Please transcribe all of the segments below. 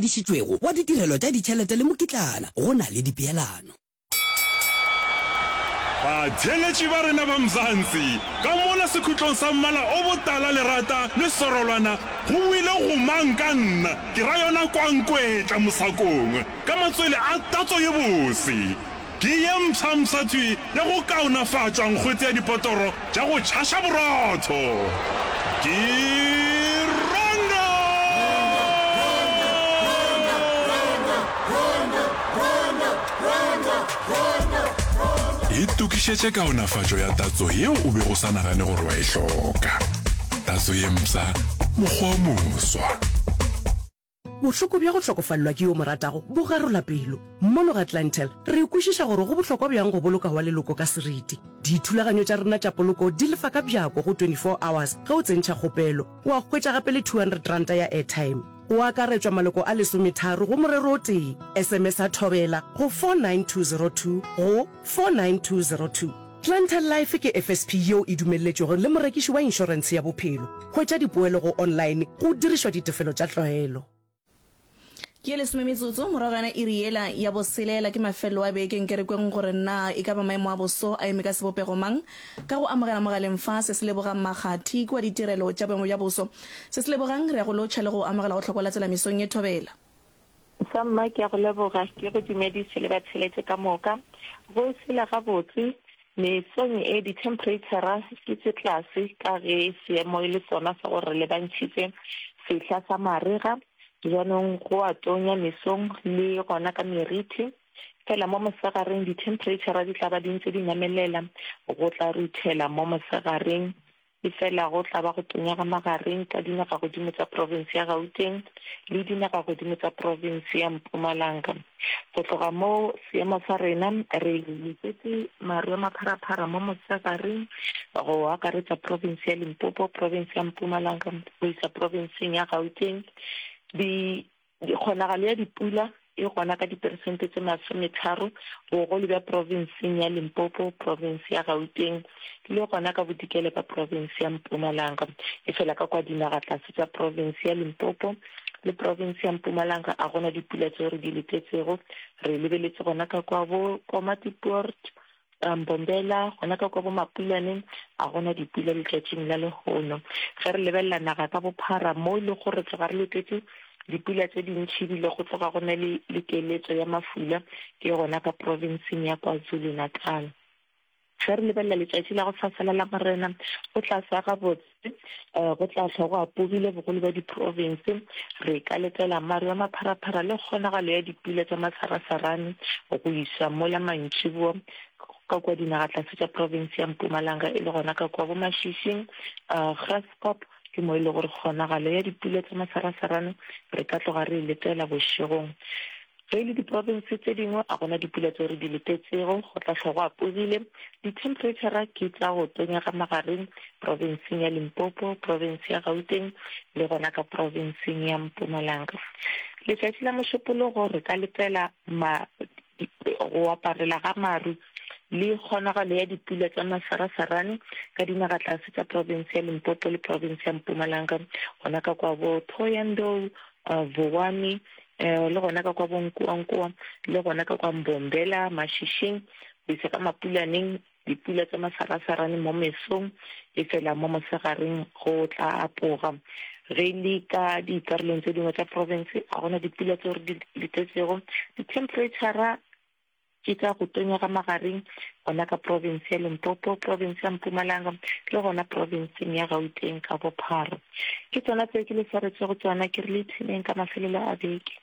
ngwadišitšwego wa ditirelo tša ditšhelete le mokitlana, go na le dipeelano. Batheeletši ba rena ba Mzansi, ka mola sekhutlong sa mmala o botala lerata le sorolwana go boile gomang ka nna, ke ra yona kwankwetla mosakong ka matswele a tatso ye bose. Ke ye mpshampsha thwi ya go kaonafatšwa nkgwete ya dipotoro tša go tšhaša borotho. Ke Rondo! Itokišetše kaonafatšo ya tatso yeo o bego o sa nagane gore wa e hloka. Tatso ye mpsha, mokgwa o moswa. Bohloko bja go hlokofalelwa ke yo o mo ratago bo garola pelo. Mono ga Clientele, re kwešiša gore go bohlokwa bjang go boloka wa leloko ka seriti. Dithulaganyo tša rena tša poloko di lefa ka bjako go 24 hours ge o tsentšha kgopelo, wa hwetša gape le R200 ya airtime. Go akaretšwa maloko a lesometharo go morero o tee. SMS-a Thobela go 49202 go 49202. Clientele Life ke FSP yeo e dumelletšwego le morekiši wa inšorentshe ya bophelo. Hwetša dipoelo go online go dirišwa ditefelo tša tlwaelo. Ke ye lesome metsotso morago ga yona iri yela ya boselela ke mafelelo a beke. Nke re kweng gore na e ka ba maemo a boso a eme ka sebopego mang. Ka go amogela mogaleng fa, se se lebogang Makgathi kua ditirelo tša boemo bja boso. Se se lebogang, re ya go lotšha le go amogela go hlokwa la tsela mesong ye thobela. Samma, ke a go leboga. Ke go dumedise le batheeletše ka moka. Go sela gabotse, mesong e dithemphereitšhara ke tše tlase ka ge seemo e le sona sa gore re lebantšhitše sehla sa marega. Bjanong go a tonya mesong le gona ka meriti. Fela mo mosegareng dithemphereitšhara di tla ba di ntše di namelela, go tla ruthela mo mosegareng. Efela go tla ba go tonya ga magareng ka dinagagodimo tša profense ya Gauteng le dinagagodimo tša profense ya Mpumalanga. Go tloga moo, seemo sa rena re letetše maru a mapharaphara mo mosegareng go akaretša profense ya Limpopo, profense ya Mpumalanga go isa profenseng ya Gauteng. Di Kgonagalo ya dipula e gona ka diperesente tše masometharo bogolo bja profenseng ya Limpopo, profense ya Gauteng le gona ka bodikela bja profense ya Mpumalanga. Efela ka kwa dinagatlase tša profense ya Limpopo le profense ya Mpumalanga a gona dipula tšeo re di letetšego. Re lebeletše gona ka kwa bo Komatipoort, Mbombela, gona ka kwa bo Mapulaneng, a gona dipula letšatšing la lehono. Ge re lebelela naga ka bophara, mo e lego gore tloga re letetše dipula tše dintši ebile go tloga go na le le keletšo ya mafula, ke gona ka profenseng ya KwaZulu-Natal. Ge re lebelela letšatši la go sasa la Lamorena, go tla sa gabotse. Go tla hlwa go apogile bogolo bja diprofense. Re ka letela maru a mapharaphara le kgonagalo ya dipula tša masarasarane go iša mola mantšiboa ka kua dinagatlase tša profense ya Mpumalanga e le gona ka kua bo Mashishing, Graskop ke mo e le gore kgonagalo ya dipula tša masarasarane re ka tloga re e letela bošegong. Ge e le diprofense tše dingwe a gona dipula tšeo re di letetšego, go tla hlwa go apogile. Dithemphereitšhara ke tša go tonya ga magareng profenseng ya Limpopo, profense ya Gauteng le gona ka profenseng ya Mpumalanga. Letšatši la Mošupologo re ka letela ma go aparela ga maru le kgonagalo ya dipula tša masarasarane ka dinagatlase tša profense ya Limpopo le profense ya Mpumalanga, gona ka kwa bo Thohoyandou, Vuwani, le gona ka kwa Bonkoankoa, le gona ka kwa Mbombela, Mashishing, go isa ka Mapulaneng, dipula tša masarasarane mo mesong, efela mo mosegareng go tla apoga. Ge e le ka dikarolong tše dingwe tša profense, ga gona dipula tseo re di letetšego. Dithemphereitšhara Ke tša go tonya ga magareng gona ka profense ya Limpopo, profense ya Mpumalanga le gona profenseng ya Gauteng ka bophara. Ke tsona tseo ke le swaretšego tsona, ke re le ipshineng ka mafelelo a beke.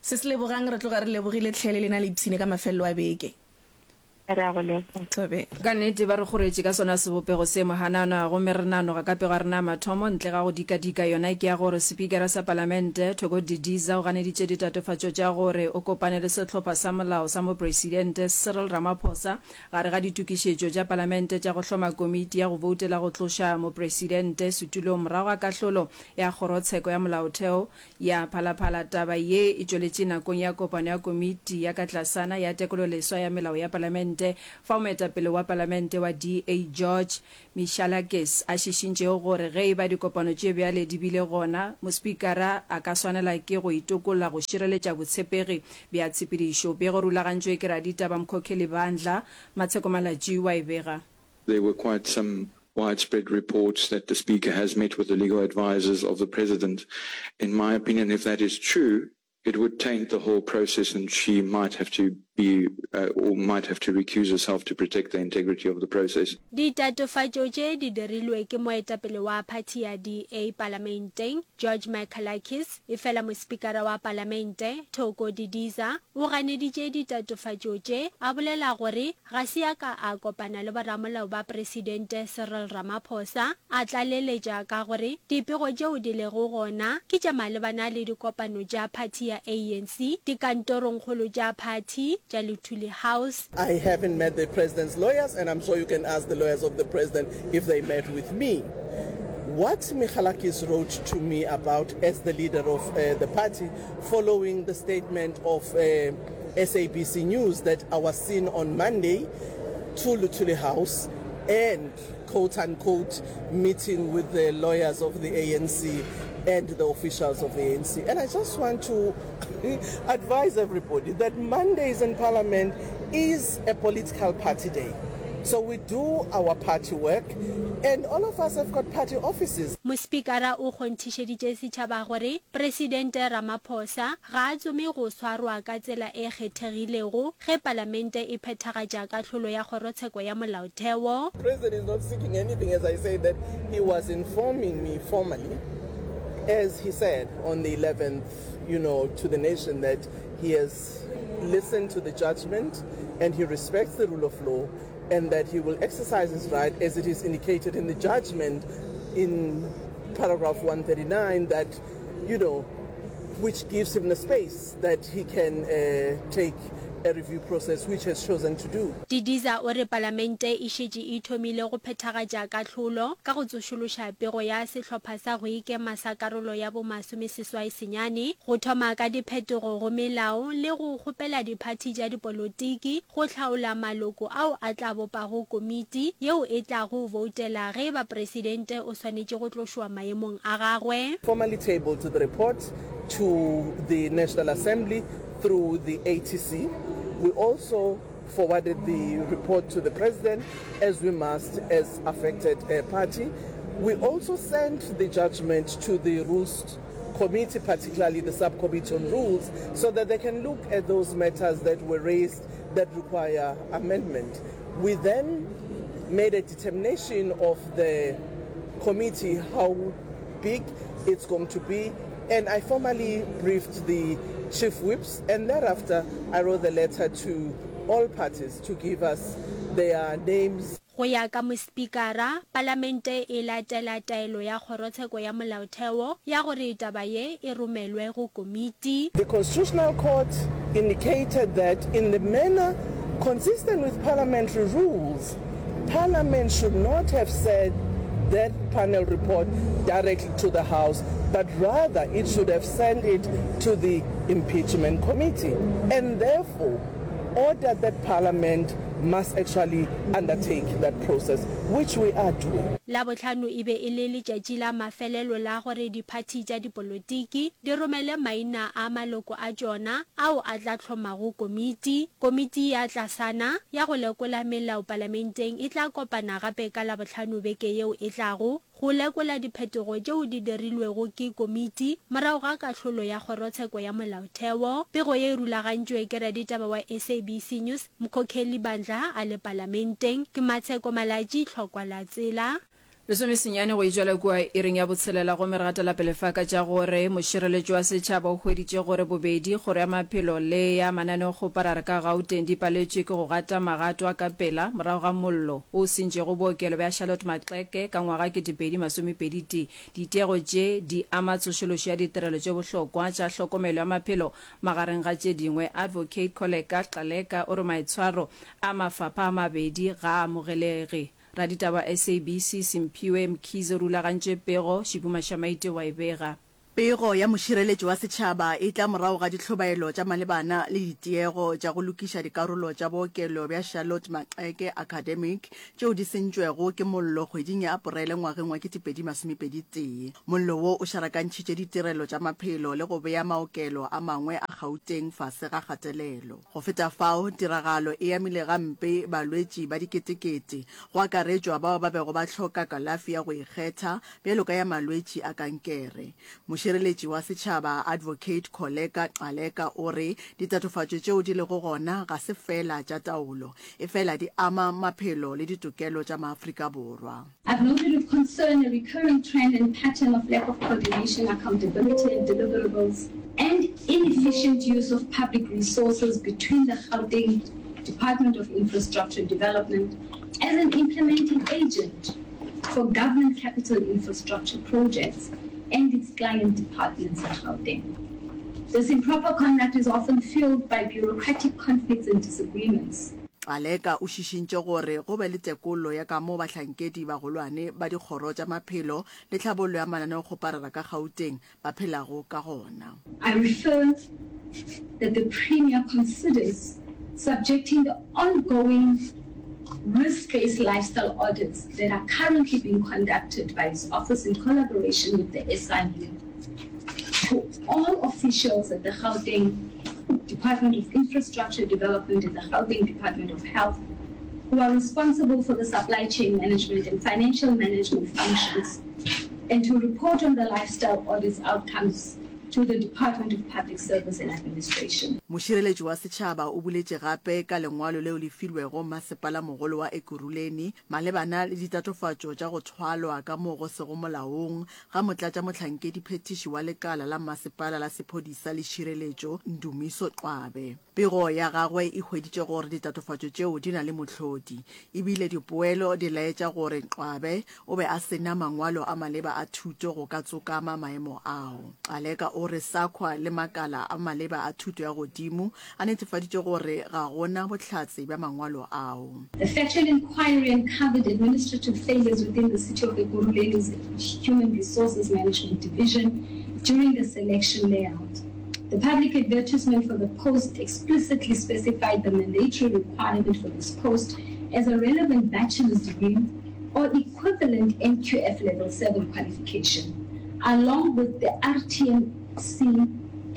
Se se lebogang, re tloga re lebogile hle le lena le ipshine ka mafelelo a beke. Re a go leboga. Thobela. Ka nnete ba re kgoretše ka sona sebopego se mohanana, gomme re nanoga ka pego ya rena ya mathomo ntle ga go dikadika. Yona ke ya gore Sepikara sa Palamente, Thoko Didiza o ganeditše ditatofatšo tša gore o kopane le sehlopha sa molao sa Mopresidente Cyril Ramaphosa gare ga ditokišetšo tša Palamente tša go hloma komiti ya go boutela go tloša Mopresidente setulong morago ga kahlolo ya Kgorotsheko ya Molaotheo ya Phalaphala. Taba ye e tšweletše nakong ya kopano ya komiti ya ka tlasana ya tekololeswa ya melao ya Palamente. Palamente fao moetapele wa Palamente wa DA George Michalakis a šišintšego gore ge e ba dikopano tše bjale di bile gona, mospikara a ka swanela ke go itokolla go šireletša botshepegi bja tshepedišo. Pego rulagantšwe ke raditaba Mkhokheli Bandla, Matsheko Malatji wa e bega. There were quite some widespread reports that the Speaker has met with the legal advisers of the President. In my opinion, if that is true, it would taint the whole process and she might have to be uh, or might have to recuse herself to protect the integrity of the process. Ditatofatšo tše di dirilwe ke moetapele wa phathi ya DA palamenteng, George Michalakis, efela mospikara wa palamente, Thoko Didiza, o ganeditše ditatofatšo tše, a bolela gore Ga se a ka a kopana le boramolao ba Presidente Cyril Ramaphosa, a tlaleletša ka gore dipego tšeo di lego gona ke tša malebana le dikopano tša phathi ya ANC dikantorongkgolo tša phathi tša Luthuli House. I haven't met the president's lawyers and I'm sure you can ask the lawyers of the president if they met with me. What Michalakis wrote to me about as the leader of the party following the statement of SABC News that I was seen on Monday to Luthuli House and quote unquote meeting with the lawyers of the ANC and the officials of the ANC. And I just want to advise everybody that Mondays in Parliament is a political party day. So we do our party work and all of us have got party offices. Mospikara o kgonthišeditše setšhaba gore Presidente Ramaphosa ga a tsome go swarwa ka tsela e kgethegilego ge Palamente e phethagatša kahlolo ya Kgorotsheko ya Molaotheo. President is not seeking anything as I say that he was informing me formally as he said on the 11th you know to the nation that he has listened to the judgment and he respects the rule of law and that he will exercise his right as it is indicated in the judgment in paragraph 139 that you know which gives him the space that he can uh, take a review process which has chosen to do. Didiza o re Palamente e šetše e thomile go phethagatša kahlolo ka go tsošološa pego ya sehlopha sa go ikema sa karolo ya bo masomeseswai senyane, go thoma ka diphetogo go melao le go kgopela diphathi tša dipolotiki go hlaola maloko ao a tla bopago komiti yeo e tlago boutela ge e ba presidente o swanetše go tlošwa maemong a gagwe. Formally tabled the report to the National Assembly through the ATC. We also forwarded the report to the President as we must as affected party. We also sent the judgment to the Rules Committee, particularly the Subcommittee on Rules, so that they can look at those matters that were raised that require amendment. We then made a determination of the committee how big it's going to be, and I formally briefed the chief whips, and thereafter I wrote the letter to all parties to give us their names. Go ya ka Mospikara, Palamente e latela taelo ya Kgorotsheko ya Molaotheo ya gore taba ye e romelwe go komiti. The Constitutional Court indicated that in the manner consistent with parliamentary rules, Parliament should not have said that panel report directly to the House, but rather it should have sent it to the Impeachment Committee, and therefore ordered that Parliament must actually undertake that process, which we are doing. Labohlano e be e le letšatši la mafelelo la gore diphathi tša dipolotiki di romele maina a maloko a tšona ao a tla hlomago komiti. Komiti ya tlasana ya go lekola melao palamenteng e tla kopana gape ka Labohlano beke yeo e tlago go lekola diphetogo tšeo di dirilwego ke komiti morago ga kahlolo ya Kgorotsheko ya Molaotheo. Pego ye e rulagantšwe ke raditaba wa SABC News, Mkhokheli Bandla a le Palamenteng. Ke Matsheko Malatji, Tlhokwa la Tsela. Lesomesenyane go etšwela kua iring ya botshelela gomme re gatela pele fa ka tša gore mošireletši wa setšhaba o hweditše gore bobedi kgoro ya maphelo le ya mananeokgoparara ka Gauteng di paletšwe ke go gata magato a ka pela morago ga mollo wo o sentšego bookelo bja Charlotte Maxeke ka ngwaga 2021 tee. Ditiego tše di ama tsošološo ya ditirelo tše bohlokwa tša hlokomelo ya maphelo magareng ga tše dingwe. Advocate Kholeka Gcaleka o re maitshwaro a mafapha a mabedi ga a amogelege. Raditaba SABC Simphiwe Mkhize o rulagantše pego, Shibu Mashamaite wa e bega. Pego ya mošireletši wa setšhaba e tla morago ga dihlobaelo tša malebana le ditiego tša go lokiša dikarolo tša bookelo bja Charlotte Maxeke Academic tšeo di sentšwego ke mollo kgweding ya Aporele ngwageng wa 2021. Mollo wo o šarakantšhitše ditirelo tša maphelo le go bea maokelo a mangwe a Gauteng fase ga kgatelelo. Go feta fao, tiragalo e amile gampe balwetši ba diketekete, go akaretšwa bao ba bego ba hloka kalafi ya go ikgetha bjalo ka ya malwetši a kankere. Mošireletši wa setšhaba Advocate Kholeka Gcaleka o re ditatofatšo tšeo di lego gona ga se feela tša taolo, efela di ama maphelo le ditokelo tša maAfrika Borwa. I've noted with concern a recurring trend and pattern of lack of coordination, accountability and deliverables and inefficient use of public resources between the Gauteng Department of Infrastructure Development as an implementing agent for government capital infrastructure projects and its client departments in Gauteng. This improper conduct is often fueled by bureaucratic conflicts and disagreements. Gcaleka o šišintše gore go be le tekolo ya ka moo bahlankedi bagolwane ba dikgoro tša maphelo le tlhabollo ya mananeokgoparara ka Gauteng ba phelago ka gona. I refer that the Premier considers subjecting the ongoing risk-based lifestyle audits that are currently being conducted by his office in collaboration with the SIU to all officials at the Gauteng Department of Infrastructure Development and the Gauteng Department of Health who are responsible for the supply chain management and financial management functions and to report on the lifestyle audit's outcomes to the Department of Public Service and Administration. Mošireletši wa setšhaba o boletše gape ka lengwalo leo le filwego Mmasepalamogolo wa Ekurhuleni malebana le ditatofatšo tša go thwalwa ka mo go sego molaong ga motlatšamohlankediphethiši wa lekala la mmasepala la sephodisa le tšhireletšo Ndumiso Qwabe. Pego ya gagwe e hweditše gore ditatofatšo tšeo di na le mohlodi, e bile dipoelo di laetša gore Qwabe o be a se na mangwalo a maleba a thuto go ka tsokama maemo ao. Gcaleka o re SAQA le makala a maleba a thuto ya godimo a netefaditše gore ga go na bohlatse bja mangwalo ao. The factual inquiry uncovered administrative failures within the City of Ekurhuleni's Human Resources Management Division during the selection layout. The public advertisement for the post explicitly specified the mandatory requirement for this post as a relevant bachelor's degree or equivalent NQF level 7 qualification, along with the RTMC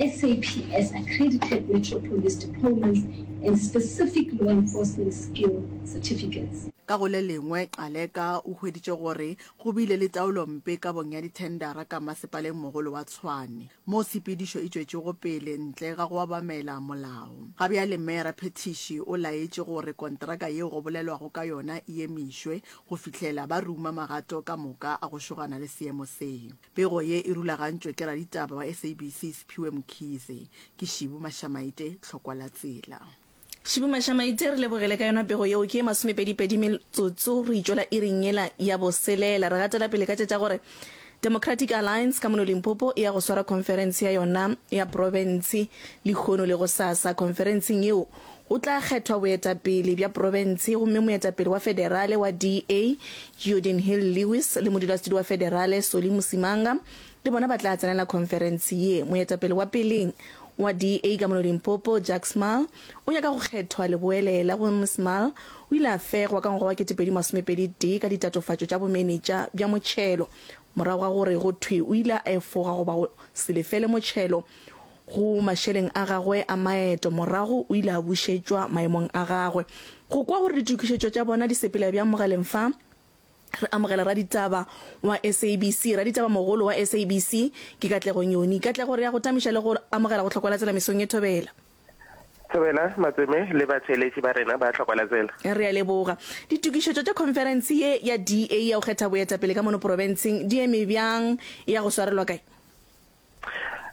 SAPS accredited Metro Police diplomas and specific law enforcement skill certificates. Ka go le lengwe, Gcaleka o hweditše gore go bile le taolompe kabong ya dithendara ka Masepaleng Mogolo wa Tshwane. moo tshepedišo e tšwetšego pele ntle ga go obamela molao. Ga bjale Meyara Phethiši o laetše gore kontraka yeo go bolelwago ka yona e emišwe go fihlela ba ruma magato ka moka a go šogana le seemo se. Pego ye e rulagantšwe ke raditaba wa SABC Siphiwe Mkhize. Ke Šibu Mashamaite, Tlhokwa la Tsela. Šibu Mashamaite, re lebogele ka yona pego yeo. Ke ye masomepedipedi metsotso re itšwela iring yela ya boselela. Re gatela pele ka tše tša gore Democratic Alliance ka mono Limpopo e ya go swara khonferense ya yona ya profense lehono le gosasa. Khonferenseng yeo go tla kgethwa boetapele bja profense gomme moetapele wa federale wa DA Geordin Hill-Lewis le modulasetulo wa federale Solly Msimanga le bona ba tla tsenela khonferense ye. Moetapele wa peleng wa DA ka mono Limpopo, Jacques Smalle, o nyaka go kgethwa leboelela gomme Smalle o ile a fegwa ka ngwaga wa 2021 ka ditatofatšo tša bomenetša bja motšhelo morago ga gore go thwe o ile a efoga goba go se lefele motšhelo go mašeleng a gagwe a maeto. Morago o ile a bušetšwa maemong a gagwe. Go kwa gore ditokišetšo tša bona di sepela bjang mogaleng fa, Re amogela raditaba wa SABC, raditaba mogolo wa SABC ke Katlego Nyoni. Katlego, re ya go tamiša le go amogela go Hlokwa la Tsela mesong ye Thobela. Thobela, Matseme le batheeletši ba rena ba Hlokwa la Tsela. Re a leboga. Ditokišetšo tša khonferense ye ya DA ya go kgetha boetapele ka mono profenseng di eme bjang? E ya go swarelwa kae?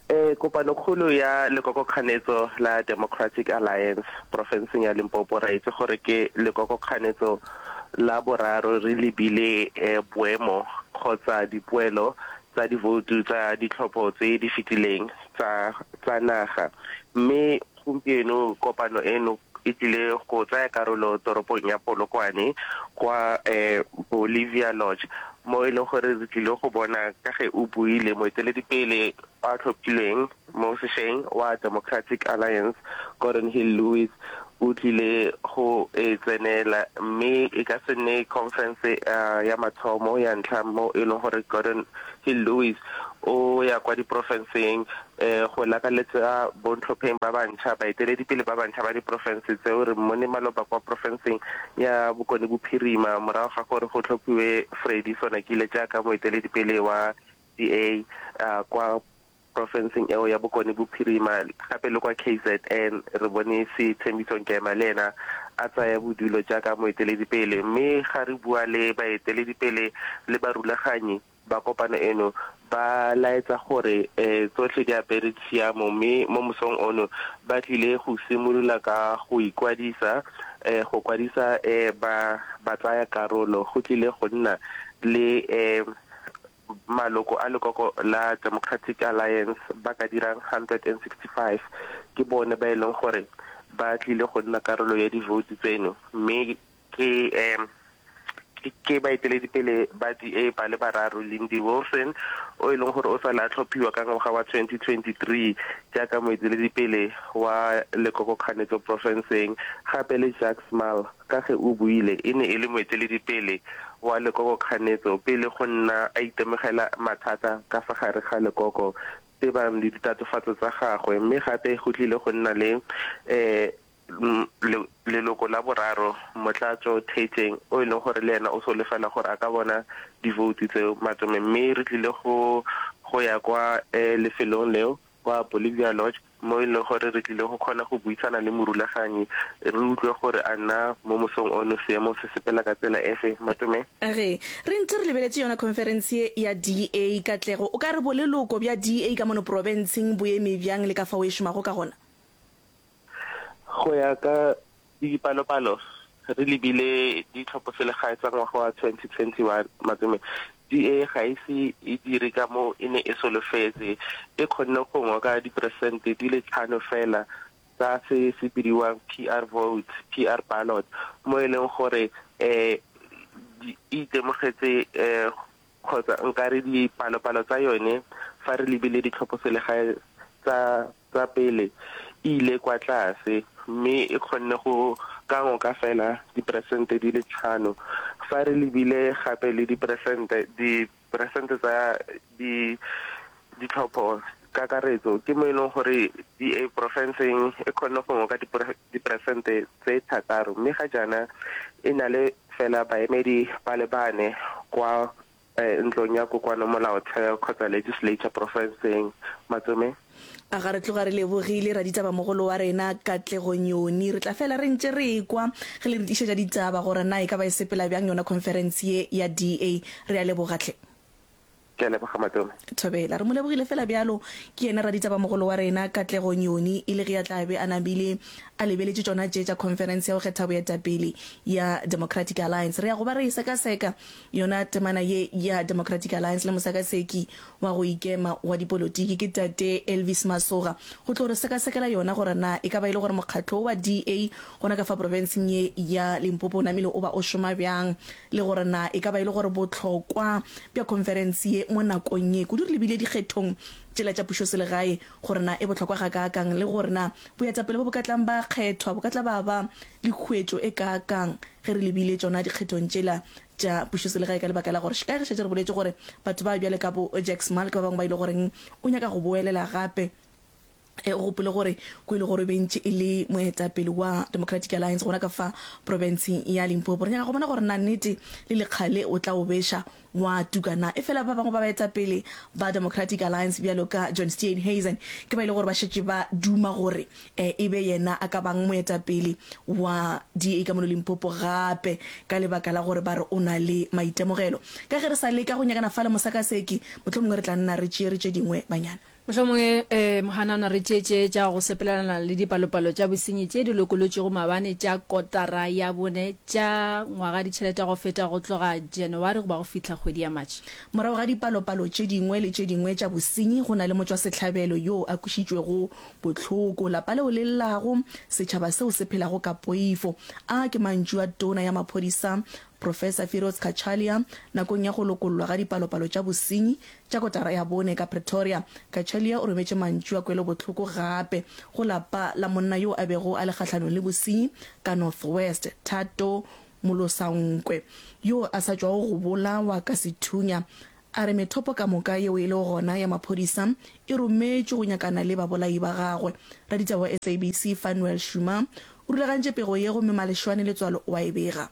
E, kopanokgolo ya lekokokganetso la Democratic Alliance profenseng ya Limpopo ra itse gore ke lekokokganetso la boraro re lebile e, boemo kgotsa dipoelo tsa divoutu tsa ditlhopho tse di fetileng tsa tsa naga mme gompieno kopano eno e tlile go tsaya karolo toropong ya Polokwane kwa eh, Bolivia Lodge mo e leng gore re tlile go bona ka ge o buile moeteledipele. a tlhophilweng mo sešweng wa Democratic Alliance, Gordon Hill-Lewis, o tlile go e tsenela mme e ka se nne khonferense ya mathomo ya ntlha mo e leng gore Gordon Hill-Lewis o ya kwa diprofenseng go lakaletsa bontlhopheng ba bantšha, baeteledipele ba bantšha ba diprofense tseo. Re mmone maloba kwa profenseng ya Bokone Bophirima morago ga gore go tlhophiwe Freddy Sonakile jaaka moeteledipele wa DA kwa profenseng eo ya Bokone Bophirima, gape le kwa KZN re bone Sethembiso Nkema le ena a tsaya bodulo jaaka moeteledipele. Mme ga re bua le baeteledipele le barulaganyi ba kopano eno, ba laetsa gore tsotlhe di apere tshiamo mme mo mosong ono ba tlile go simolola ka go ikwadisa, go kwadisa ba batsaya karolo. Go tlile go nna le Maloko a lekoko la Democratic Alliance ba ka dirang 165 ke bone ba e leng gore ba tlile go nna karolo ya divoutu tseno mme ke ke baeteledipele ba DA ba le bararo, Lindy Wilson o e leng gore o sale a tlhophiwa ka ngwaga wa 2023 jaaka moeteledipele wa lekokokganetso porofenseng, gape le Jacques Smalle Ka ge o buile, e ne e le moeteledipele wa lekoko-kganetso pele go nna a itemogela mathata ka fa gare ga lekoko tebang le ditatofatso tsa gagwe mme gape go tlile go nna le leloko la boraro, Motlatso Thejeng, o e leng gore le ena o solofela gore a ka bona divoutu tseo matsome mme re tlile go go ya kwa lefelong leo kwa Bolivia Lodge mo e leng gore re tlile go kgona go buisana le morulaganyi re utlwe gore a na mo mosong ono seemo se sepela ka tsela efe. Matome. Ge re ntse re lebeletše yona khonferense ye ya DA, Katlego, o ka re boleloko bja DA ka mono profenseng bo eme bjang le ka fao e šomago ka gona? Go ya ka Dipalopalo re lebile ditlhopho-selegae tsa ngwaga wa 2021, Matome, DA ga e se e dire ka mo e ne e solofetse. E kgonne go ngoka diperesente di le tlhano fela tsa se se bidiwang PR votes, PR ballot, mo e leng gore e itemogetse kgotsa nkare dipalopalo tsa yone fa re lebile ditlhopho-selegae tsa tsa pele e ile kwa tlase mme e kgonne go ka ngoka fela diperesente di le tlhano. Fa re lebile gape le diperesente diperesente tsa di ditlhopho kakaretso ke mo e leng gore DA porofenseng e kgonne go ngoka diperesente tse thataro mme ga jaana e na le fela baemedi ba le bane kwa Ntlong ya Kokoano Molaotheo kgotsa Legislature Porofenseng. Matsome. A ga re tloga re lebogile raditabamogolo wa rena Katlego Nyoni. Re tla fela re ntše re ekwa ge le re tlišetša ditaba gore na e ka ba e sepela bjang yona conference ye ya DA. Re a leboga hle. Ke a leboga Matome. Thobela. Re mo lebogile fela bjalo. Ke yena raditabamogolo wa rena Katlego Nyoni e le ge a tla be a namile a lebeletše tšona tše tša conference ya go kgetha boetapele ya Democratic Alliance. Re ya go ba re e sekaseka Yona temana ye ya Democratic Alliance le mosakaseki wa go ikema wa dipolotiki ke Tate Elvis Masoga go tlo re sekasekela yona gore na e ka ba e le gore mokgatlo wo wa DA gona ka fa profenseng ye ya Limpopo o namile o ba o šoma bjang le gore na e ka ba e le gore bohlokwa bja khonferense ye mo nakong ye kudu re lebile dikgethong tšela tša pušoselegae gore na e bohlokwa gakaakang le gore na boetapele bo bo ka tlang ba kgethwa bo ka tla ba ba le khuetšo e kaakang ge re lebile tšona dikgethong tšela tša pušoselegae ka lebaka la gore ka ge šetše re boletše gore batho ba bjale ka bo Jack Small ke ba bangwe ba ile goreng o nyaka go boelela gape. E, o gopole gore ko e le gore o be ntše e le moetapele wa Democratic Alliance gona ka fa profenseng ya Limpopo. Re nyaka go bona gore na nnete le lekgale o tla o beša wa tuka na. Efela ba bangwe ba baetapele ba Democratic Alliance bjalo ka John Steenhuisen ke ba e le gore ba šetše ba duma gore e be yena a ka bang moetapele wa DA ka mono Limpopo gape ka lebaka la gore ba re o na le maitemogelo. Ka ge re sa leka go nyakana fa le mosakaseki, mohlomongwe re tla nna re tšeere tše dingwe banyana. Mohlomongwe Mohanana re tšee tše tša go sepelelana le dipalopalo tša bosenyi tše di lokolotšwego maabane tša kotara ya bone tša ngwaga ditšhelete go feta go tloga January go ba go fihla kgwedi ya March. Morago ga dipalopalo tše dingwe le tše dingwe tša bosenyi go na le motšwasehlabelo yoo a kwešitšwego bohloko, lapa leo le llago, setšhaba seo se phelago ka poifo. A ke mantšu a Tona ya Maphodisa. Professor Firoz Cachalia, nakong ya go lokollwa ga dipalopalo tša bosenyi tša kotara ya bone ka Pretoria. Cachalia o rometše mantšu a kwelobohloko gape go lapa la monna yo a bego a le kgahlanong le bosenyi ka North West, Thato Molosankwe, yo a sa tšwago go bolawa ka sethunya. A re methopo ka moka yeo e lego gona ya maphodisa e rometšwe go nyakana le babolai ba gagwe. Raditaba wa SABC Fanuel Shuma o rulagantše pego ye gomme Maleshwane Letswalo o a e bega.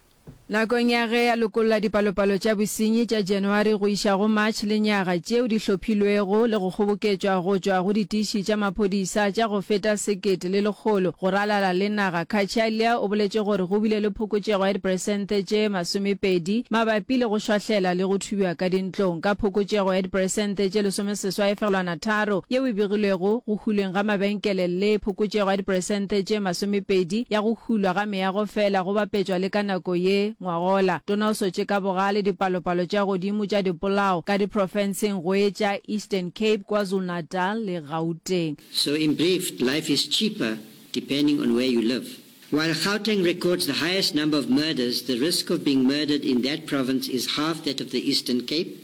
Nakong ya ge a lokolla dipalopalo tša bosenyi tša January go iša go March lenyaga tšeo di hlophilwego le go kgoboketšwa go tšwa go ditiši tša maphodisa tša go feta 1,100 go ralala le naga, Cachalia o boletše gore go bile le phokotšego ya diperesente tše 20 mabapi le go šwahlela le go thubja ka dintlong ka phokotšego ya diperesente tše 18.3 yeo e begilwego go hulweng ga mabenkele le phokotšego ya diperesente tše 20 ya go hulwa ga meago fela go bapetšwa le ka nako ye ngwagola. Tona o sotše ka bogale dipalopalo tša godimo tša dipolao ka diprofenseng go etša Eastern Cape, KwaZulu-Natal le Gauteng. So in brief, life is cheaper depending on where you live. While Gauteng records the highest number of murders, the risk of being murdered in that province is half that of the Eastern Cape.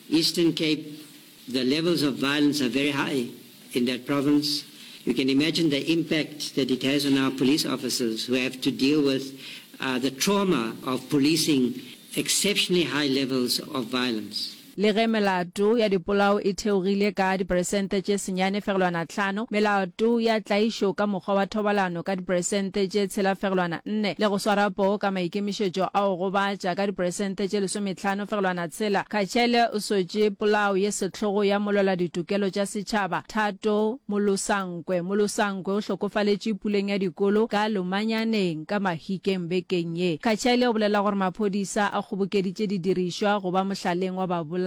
Eastern Cape, the levels of violence are very high in that province. You can imagine the impact that it has on our police officers who have to deal with uh, the trauma of policing exceptionally high levels of violence. Le ge melato ya dipolao e theogile ka diperesente tše 9.5, melato ya tlaišo ka mokgwa wa thobalano ka diperesente tše 6.4 le go swara poo ka maikemišetšo a go gobatša ka diperesente tše 15.6, Kachele o sotše polao ye sehlogo ya molweladitokelo tša setšhaba Thato Molosankwe. Molosankwe o hlokofaletše puleng ya dikolo ka Lomanyaneng ka Mahikeng bekeng ye. Kachele o bolela gore maphodisa a kgobokeditše didirišwa go ba mohlaleng wa babolai.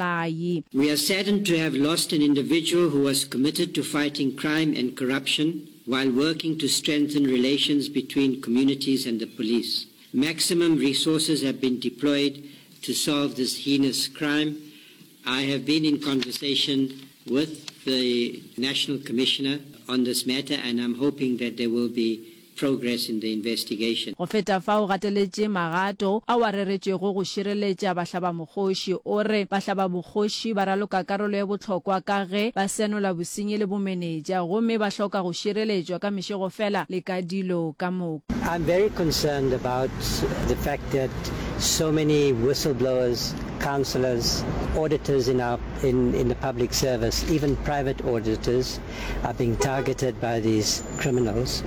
We are saddened to have lost an individual who was committed to fighting crime and corruption while working to strengthen relations between communities and the police. Maximum resources have been deployed to solve this heinous crime. I have been in conversation with the National Commissioner on this matter and I'm hoping that there will be progress in the investigation. Go feta fao o gateletše magato ao a reretšwego go šireletša bahlabamokgoši. O re bahlabamokgoši ba raloka karolo ye bohlokwa ka ge ba senola bosenyi le bomenetša gomme ba hloka go šireletšwa ka mešego fela le ka dilo ka moka. I'm very concerned about the fact that so many whistleblowers, councillors, auditors in our in in the public service, even private auditors are being targeted by these criminals.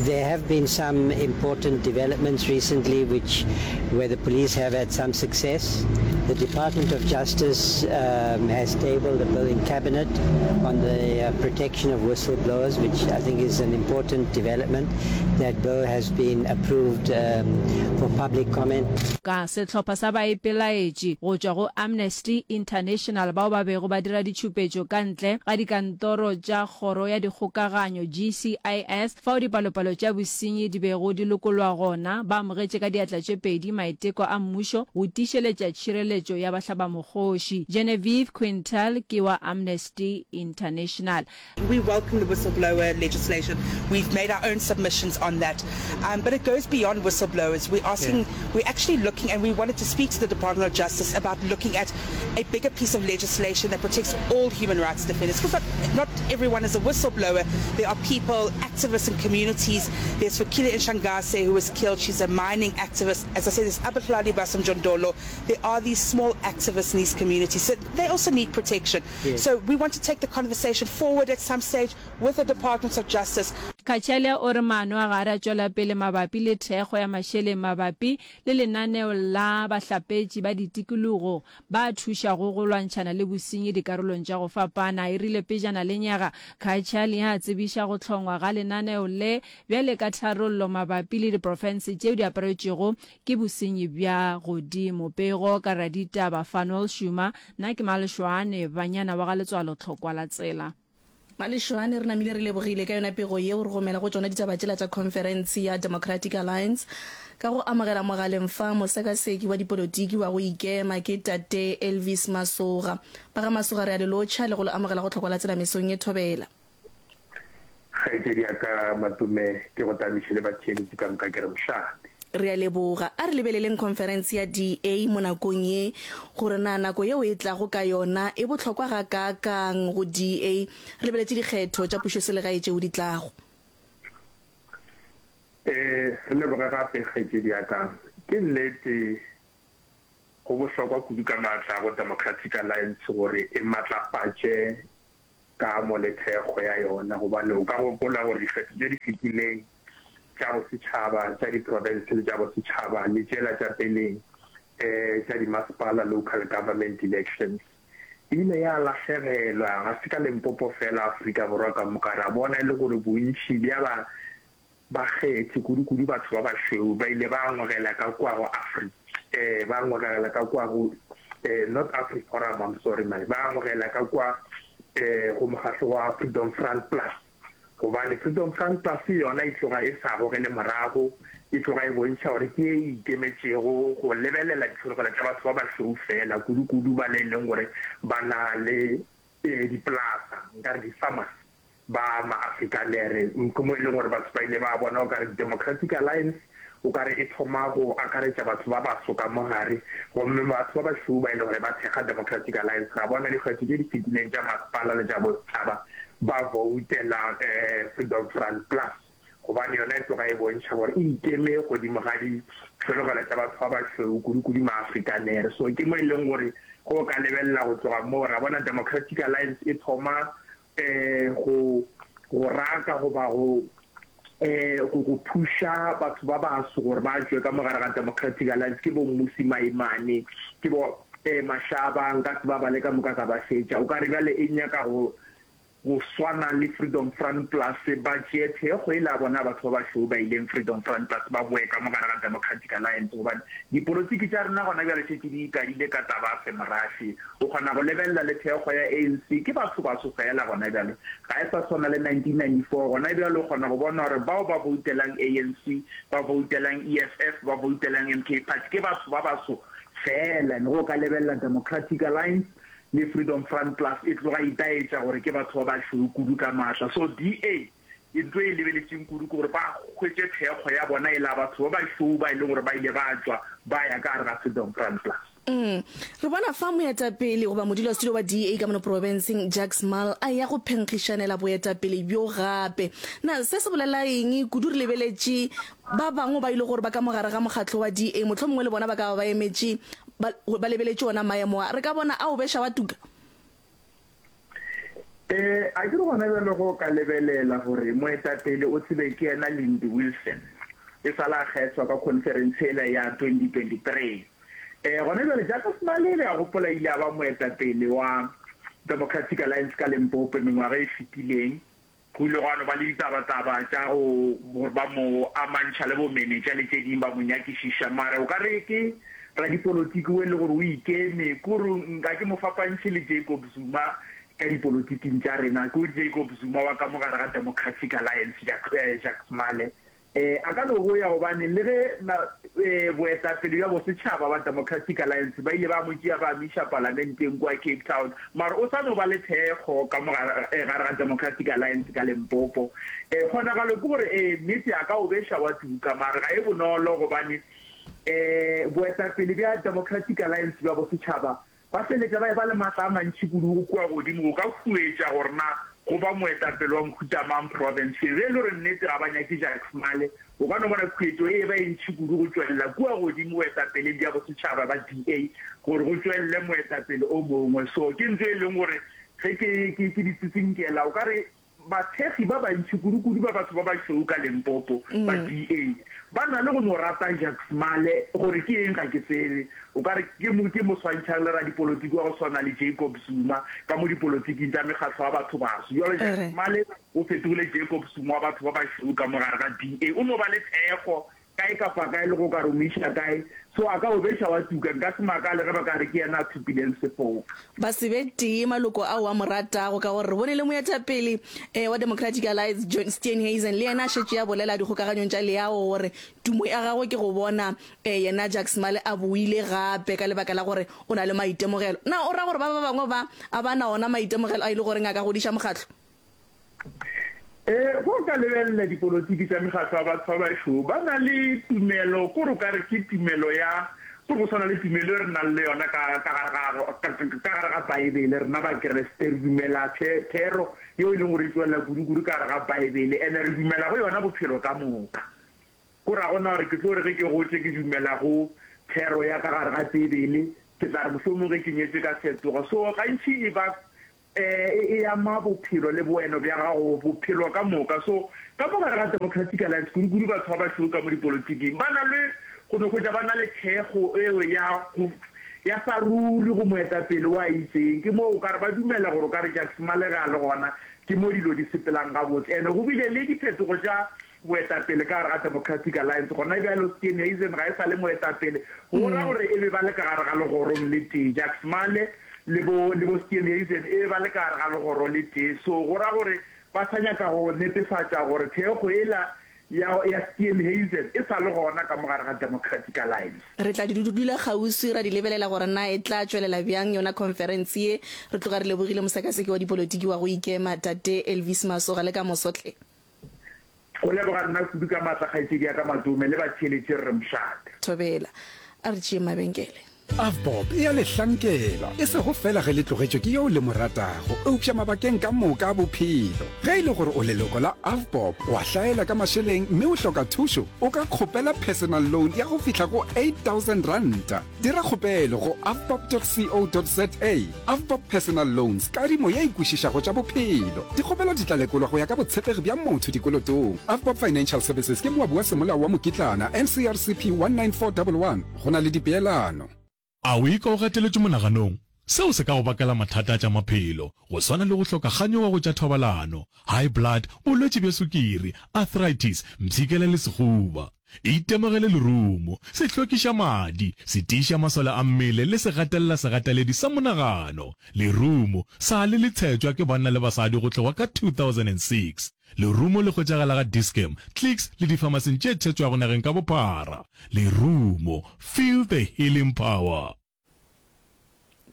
There have been some important developments recently which where the police have had some success. The Department of Justice um, has tabled a bill in cabinet on the uh, protection of whistleblowers, which I think is an important development. That bill has been approved um, for public comment. Ka sehlopha sa baipelaetši go tšwa go Amnesty International bao ba bego ba dira ditšhupetšo ka ntle ga dikantoro tša Kgoro ya Dikgokaganyo, GCIS, fao dipalopalo tša bosenyi di bego di lokolwa gona, ba amogetše ka diatla tše pedi maiteko a mmušo go tiišeletša tšhireletšo ya bahlabamokgoši. Genevieve Quintal ke wa Amnesty International. We welcome the whistleblower legislation. We've made our own submissions on that. Um, but it goes beyond whistleblowers. We're asking, yeah. we're actually looking, and we wanted to speak to the Department of Justice about looking at a bigger piece of legislation that protects all human rights defenders. Because not, not everyone is a whistleblower. There are people, activists in communities. There's Fikile Ntshangase who was killed. She's a mining activist. As I said, there's Abahlali baseMjondolo. There are these small activists in these communities. So they also need protection. Yes. So we want to take the conversation forward at some stage with the Department of Justice. Kachale o re maano a gare a tšwela pele mabapi le thekgo ya mašeleng mabapi le lenaneo la bahlapetši ba ditikologo ba thušago go lwantšhana le bosenyi dikarolong tša go fapana. E rile pejana lenyaga, Kachale a tsebiša go hlongwa ga lenaneo le bjale ka tharollo mabapi le diprofense tšeo di aparetšwego Ke bosenyi bja godimo. Pego ka raditaba Fanuel Shuma, Nna ke Malešwane, banyana wa ga Letswalo Tlhokwa la tsela. Malešwane, re namile re lebogile ka yona pego yeo re gomela go tšona ditaba tšela tša khonferense ya Democratic Alliance. Ka go amogela mogaleng fa mosekaseki wa dipolotiki wa go ikema ke Tate Elvis Masoga. Ba ga Masoga re a le lotšha le go le amogela go Tlhokwa la Tsela mesong ye thobela. Kgaetšedi ya ka Matume, ke go tamiše le batheeletši ka moka ke re mošate. Re a leboga. A re lebeleleng khonferense ya DA mo nakong ye, gore na nako yeo e tlago ka yona e bohlokwa gakaakang go DA, re lebeletše dikgetho tša pušoselegae tšeo di tlago. Ee, re leboge gape, kgaetšedi ya ka. Ke nnete, go bohlokwa kudu ka maatla go Democratic Alliance gore e matlafatše kamo le thekgo ya yona gobane o ka gopola gore dikgetho tše di fetileng tša bosetšhaba, tša diprofense le tša bosetšhaba le tšela tša peleng tša dimasepala, local government elections, e ile ya lahlegelwa, ga se ka Limpopo fela, Afrika Borwa ka moka. Ra bona e le gore bontši bja ba Bakgethi, kudu-kudu batho ba bašweu, ba ile ba ngwegela ka kua go Afri, eh, ba ngwegela ka kua go, eh, not AfriForum, I'm sorry man, ba ngwegela ka kua, eh, go mokgahlo wa Freedom Front Plus. Gobane Freedom Front Plus yona e tloga e sa gogele morago, e tloga e bontšha gore ke ye e ikemetšego go lebelela ditlhologelo tša batho ba bašweu feela, kudu-kudu ba le e leng gore ba na le, eh, dipolasa, nkare di-farmers. Ba ma-Afrikanere, ke mo e leng gore batho ba ile ba bona o ka re Democratic Alliance o ka re e thoma go akaretša batho ba baso ka mo gare, gomme batho ba bašweu ba e le gore ba thekga Democratic Alliance. Ra bona dikgetho tše di fetileng tša masepala le tša bosetšhaba ba voutela Freedom Front Plus gobane yona e tloga e bontšha gore e ikeme godimo ga ditlhologelo tša batho ba bašweu, kudu-kudu ma-Afrikanere. So ke mo e leng gore ge o ka lebelela go tloga moo ra bona Democratic Alliance e thoma go go raka goba go go go thuša batho ba baso gore ba tšwe ka mo gare ga Democratic Alliance ke bo Mmusi Maimane, ke bo Mashaba, nka se ba bale ka moka ka ba fetša. O ka re bjale e nyaka go go swana le Freedom Front Plus, ba tšee thekgo e le ya bona batho ba bašweu ba ileng Freedom Front Plus ba boe ka mo gare ga Democratic Alliance gobane dipolotiki tša rena gona bjale šetše di ikadile ka taba ya semorafe. O kgona go lebelela le thekgo ya ANC ke batho baso feela gona bjale. Ga e sa swana le 1994. Gona bjale o kgona go bona gore bao ba voutelang ANC, ba voutelang EFF, ba voutelang MK Party ke batho ba baso feela. And ge o ka lebelela Democratic Alliance le Freedom Front Plus e tloga e itaetša gore ke batho ba bašweu kudu ka maatla. So DA ntho e lebeletšeng kudu ke gore ba hwetše thekgo ya bona e la batho ba bašweu ba e leng gore ba ile ba tšwa ba ya ka gare ga Freedom Front Plus. Mm. Re bona fa moetapele goba modulasetulo wa DA ka mono profenseng Jacques Mal a ya go phenkgišanela boetapele bjo gape. Na se se bolela eng kudu re lebeletše ba bangwe ba ile gore ba ka mo gare ga mokgatlo wa DA mohlomongwe le bona ba ka ba ba emetše ba, ba lebeletše ona maemo a. Re ka bona a o beša wa tuka? Ee, a ke re gona bjale go ka lebelela gore moetapele o tsebe ke yena Lindy Wilson e sa la kgethwa ka khonferense yela ya 2023. Ee, gona bjale Jacques Malé le a gopola ile a ba moetapele wa Democratic Alliance ka Limpopo mengwaga e fetileng. Go ile gwa no ba le ditabataba tša go gore ba mo amantšha le bomenetša le tše ding ba mo nyakišiša. Mara o ka re ke radipolotiki o e le gore o ikeme, kore nka ke mo fapantšhe le Jacob Zuma ka dipolotiking tša rena. Ke Jacob Zuma wa ka mo gare ga Democratic Alliance, Jacques Male. Ee, a ka no boya gobane le ge na, ee, boetapele bja bosetšhaba ba Democratic Alliance ba ile ba mo tšea ba mo iša palamenteng kua Cape Town, mara o sa no ba le thekgo ka mo gare, ee, gare ga Democratic Alliance ka Limpopo. Ee, kgonagalo ke gore, ee, nnete a ka o beša wa tuka, mara ga e bonolo gobane, ee, boetapele bja Democratic Alliance bja bosetšhaba Ba feletša ba eba le matla a mantši kudu go kua godimo go ka huetša gore na go ba moetapele wa mohuta mang profenseng. Ge e le gore nnete ga ba nyake Jacques Male, o ka no bona khuetšo e eba e ntši kudu go tšwelela kua godimo boetapeleng bja bosetšhaba ba DA gore go tšwelele moetapele o mongwe. So ke ntho e leng gore ge ke, ke, ke di tsitsinkela o ka re Bathekgi ba bantši, kudu-kudu ba batho ba bašweu ka Limpopo ba DA, ba na le go no rata Jacques Male, gore ke eng ga ke tsebe. O ka re ke mo ke mo swantšhang le radipolotiki wa go swana le Jacob Zuma ka mo dipolotiking tša mekgatlo ya batho baso. Bjalo Jacques Male o fetogile Jacob Zuma wa batho ba bašweu ka mo gare ga DA. O no ba le thekgo Kae kapa kae le go ka re o mo iša kae, so a ka o beša wa tuka. Nka se makale ge ba ka re ke yena a thopileng sefoka. Ba se be tee maloko ao a mo ratago, ka gore re bone le moetapele wa Democratic Alliance John Steenhuisen le yena a šetše a bolela dikgokaganyong tša leago gore tumo ya gagwe ke go bona yena Jacques Male a boile gape ka lebaka la gore o na le maitemogelo. Na o ra gore ba ba bangwe ba a ba na ona maitemogelo a e le goreng a ka godiša mokgatlo? Ee, ge o ka lebelela dipolotiki tša mekgatlo ya batho ba bašweu, ba na le tumelo, ko re o ka re ke tumelo ya, ko re go swana le tumelo e re nang le yona ka, ka gare ga, ka, ka gare ga Baebele, rena Bakriste, re dumela the, thero yeo e leng gore e tšwelela kudu-kudu ka gare ga Baebele, ene re dumela go yona bophelo ka moka. Ko ra gona gore ke tlo re ge ke gotše ke dumela go thero ya ka gare ga Bibele, ke tla re mohlomong ge ke nyetše ka fetoga. So gantši e ba e, e ama bophelo le boeno bja gago bophelo ka moka. So ka mo gare ga Democratic Alliance, kudu-kudu batho ba bašweu ka mo dipolotiking ba na le go no hwetša ba na le thekgo eo ya go ya sa ruri go moetapele wa itseng. Ke moo o ka re ba dumela gore o ka re Jacques Malege a le gona, ke mo dilo di sepelang gabotse. And go bile le diphetogo tša Boetapele ka gare ga Democratic Alliance gona bjalo, Steenhuisen ga e sa le moetapele, go ra gore e be ba le ka gare ga legorong le tee. Jacques Male le bo, le bo Steenhuisen e be ba le ka gare ga legoro le tee. So go ra gore ba sa nyaka go netefatša gore thekgo yela ya, ya Steenhuisen e sa le gona ka mo gare ga Democratic Alliance. Re tla di dula kgauswi ra di lebelela gore na e tla tšwelela bjang yona khonferense ye. Re tloga re lebogile mosekaseki wa dipolotiki wa go ikema, Tate Elvis Masoga, le ka moso hle. Go leboga nna kudu ka maatla kgaetšedi ya ka Matome le batheeletši re re mošate. Thobela. A re tšeeng mabenkele. AVBOB e a le hlankela, e sego feela ge le tlogetšwe ke yo le mo ratago, eupša mabakeng ka moka a bophelo. Ge e le gore o leloko la AVBOB, wa hlaela ka mašeleng mme o hloka thušo, o ka kgopela personal loan ya go fihla go R8000. Dira kgopelo go avbob.co.za. Avbob Personal Loans, kadimo ye e kwešišago tša bophelo. Dikgopelo di tla lekolwa go ya ka botshepegi bja motho dikolotong. Avbob Financial Services ke moabi wa semolao wa mokitlana, NCRCP 19411. Go na le dipeelano. A o ikwa o gateletšwe monaganong? Seo se ka go bakela mathata a tša maphelo, go swana le go hloka kganyogo go tša thobalano, high blood, bolwetši bja sukiri, arthritis, mpshikela le sehuba. Itemogele lerumo, se hlwekiša madi, se tiiša masole a mmele le se gatelela segateledi sa monagano. Lerumo sa le le tshetšwa ke banna le basadi go tloga ka 2006. Lerumo le hwetšagala ga Dis-Chem, Clicks le difamasing tše tshetšwago nageng ka bophara. Lerumo, feel the healing power.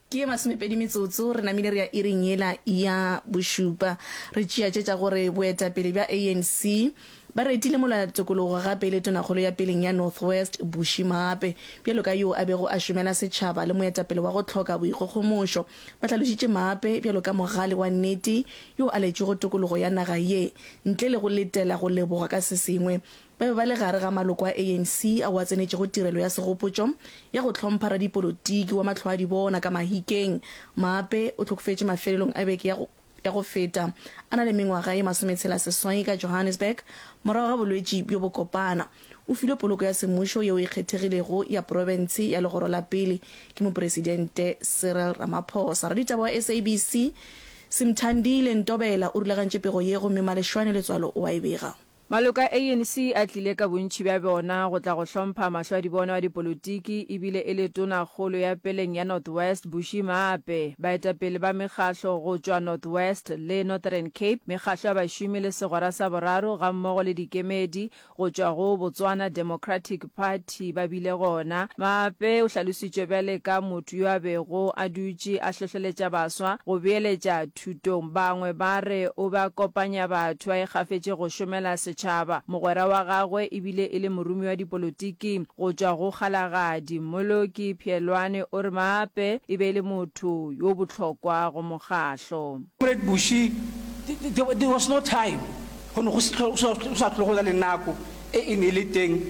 Ke ye masomepedi metsotso, re namile re ya iring yela ya bošupa. Re tšea tše tša gore boetapele bja ANC ba retile molwatokologo gape e le tonakgolo ya peleng ya North West, Bushy Maape, bjalo ka yoo a bego a šomela setšhaba le moetapele wa go hloka boikgogomošo. Ba hlalošitše Maape bjalo ka mogale wa nnete yoo a letšego tokologo ya naga ye ntle le go letela go lebogwa ka se sengwe. Ba be ba le gare ga maloko a ANC ao a tsenetšego tirelo ya segopotšo ya go hlompha radipolotiki wa mahloadibona ka Mahikeng. Maape o hlokofetše mafelelong a beke ya ya go feta a na le mengwaga ye masometshela-seswai ka Johannesburg morago ga bolwetši bjo bokopana. O filwe poloko ya semmušo yeo e kgethegilego ya profense ya legoro la pele ke Mopresidente Cyril Ramaphosa. Raditaba wa SABC Simthandile Ntobela o rulagantše pego ye gomme Maleshwane Letswalo o a e bega. Maloko a ANC a tlile ka bontši bja bona go tla go hlompha mahlwadibono a dipolotiki ebile e le Tonakgolo ya peleng ya North West, Bushy Maape, baetapele ba mekgahlo go tšwa North West le Northern Cape, mekgahlo ya bašomi le segwera sa boraro gammogo le dikemedi go tšwa go Botswana Democratic Party ba bile gona. Maape o hlalositšwe bjale ka motho yo a bego a dutše a hlohleletša baswa go beeletša thutong. Bangwe ba re o be a kopanya batho a ikgafetše go šomela setšhaba. Mogwera wa gagwe e bile e le moromiwa wa dipolotiking go tšwa go Kgalagadi, Mmoloki Pheelwane o re Maape e be e le motho yo bohlokwa go mokgahlo. Comrade Bushy, there was no time, go ne go sa tlhole go na le nako e e ne e le teng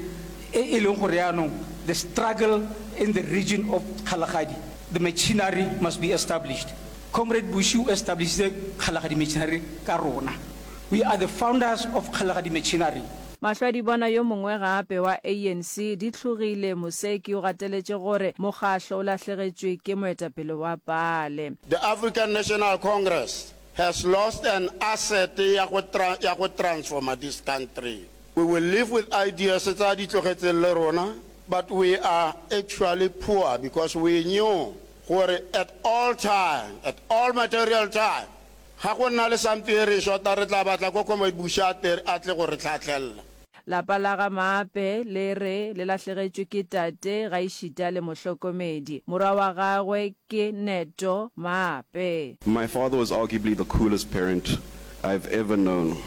e e leng gore jaanong the struggle in the region of Kgalagadi, the machinery must be established. Comrade Bushy o establishitse Kgalagadi Machinery ka rona. We are the founders of Kgalagadi Machinery. Mahlwadibona yo mongwe gape wa ANC, Ditlhogile Moseki o gateletše gore mokgahlo o lahlegetšwe ke moetapele wa paale. The African National Congress has lost an asset ya go ya go transforma this country. We will live with ideas tsa a di tlogetseng le rona but we are actually poor because we knew gore at all time, at all material time, ga go nna le something e re e shota re tla batla ko Comrade Bushy a tle a tle go re tlhatlhella. Lapa la ga Maape le re le lahlegetšwe ke tate gaešita le mohlokomedi. Morwa wa gagwe ke Neto Maape. My father was arguably the coolest parent I've ever known.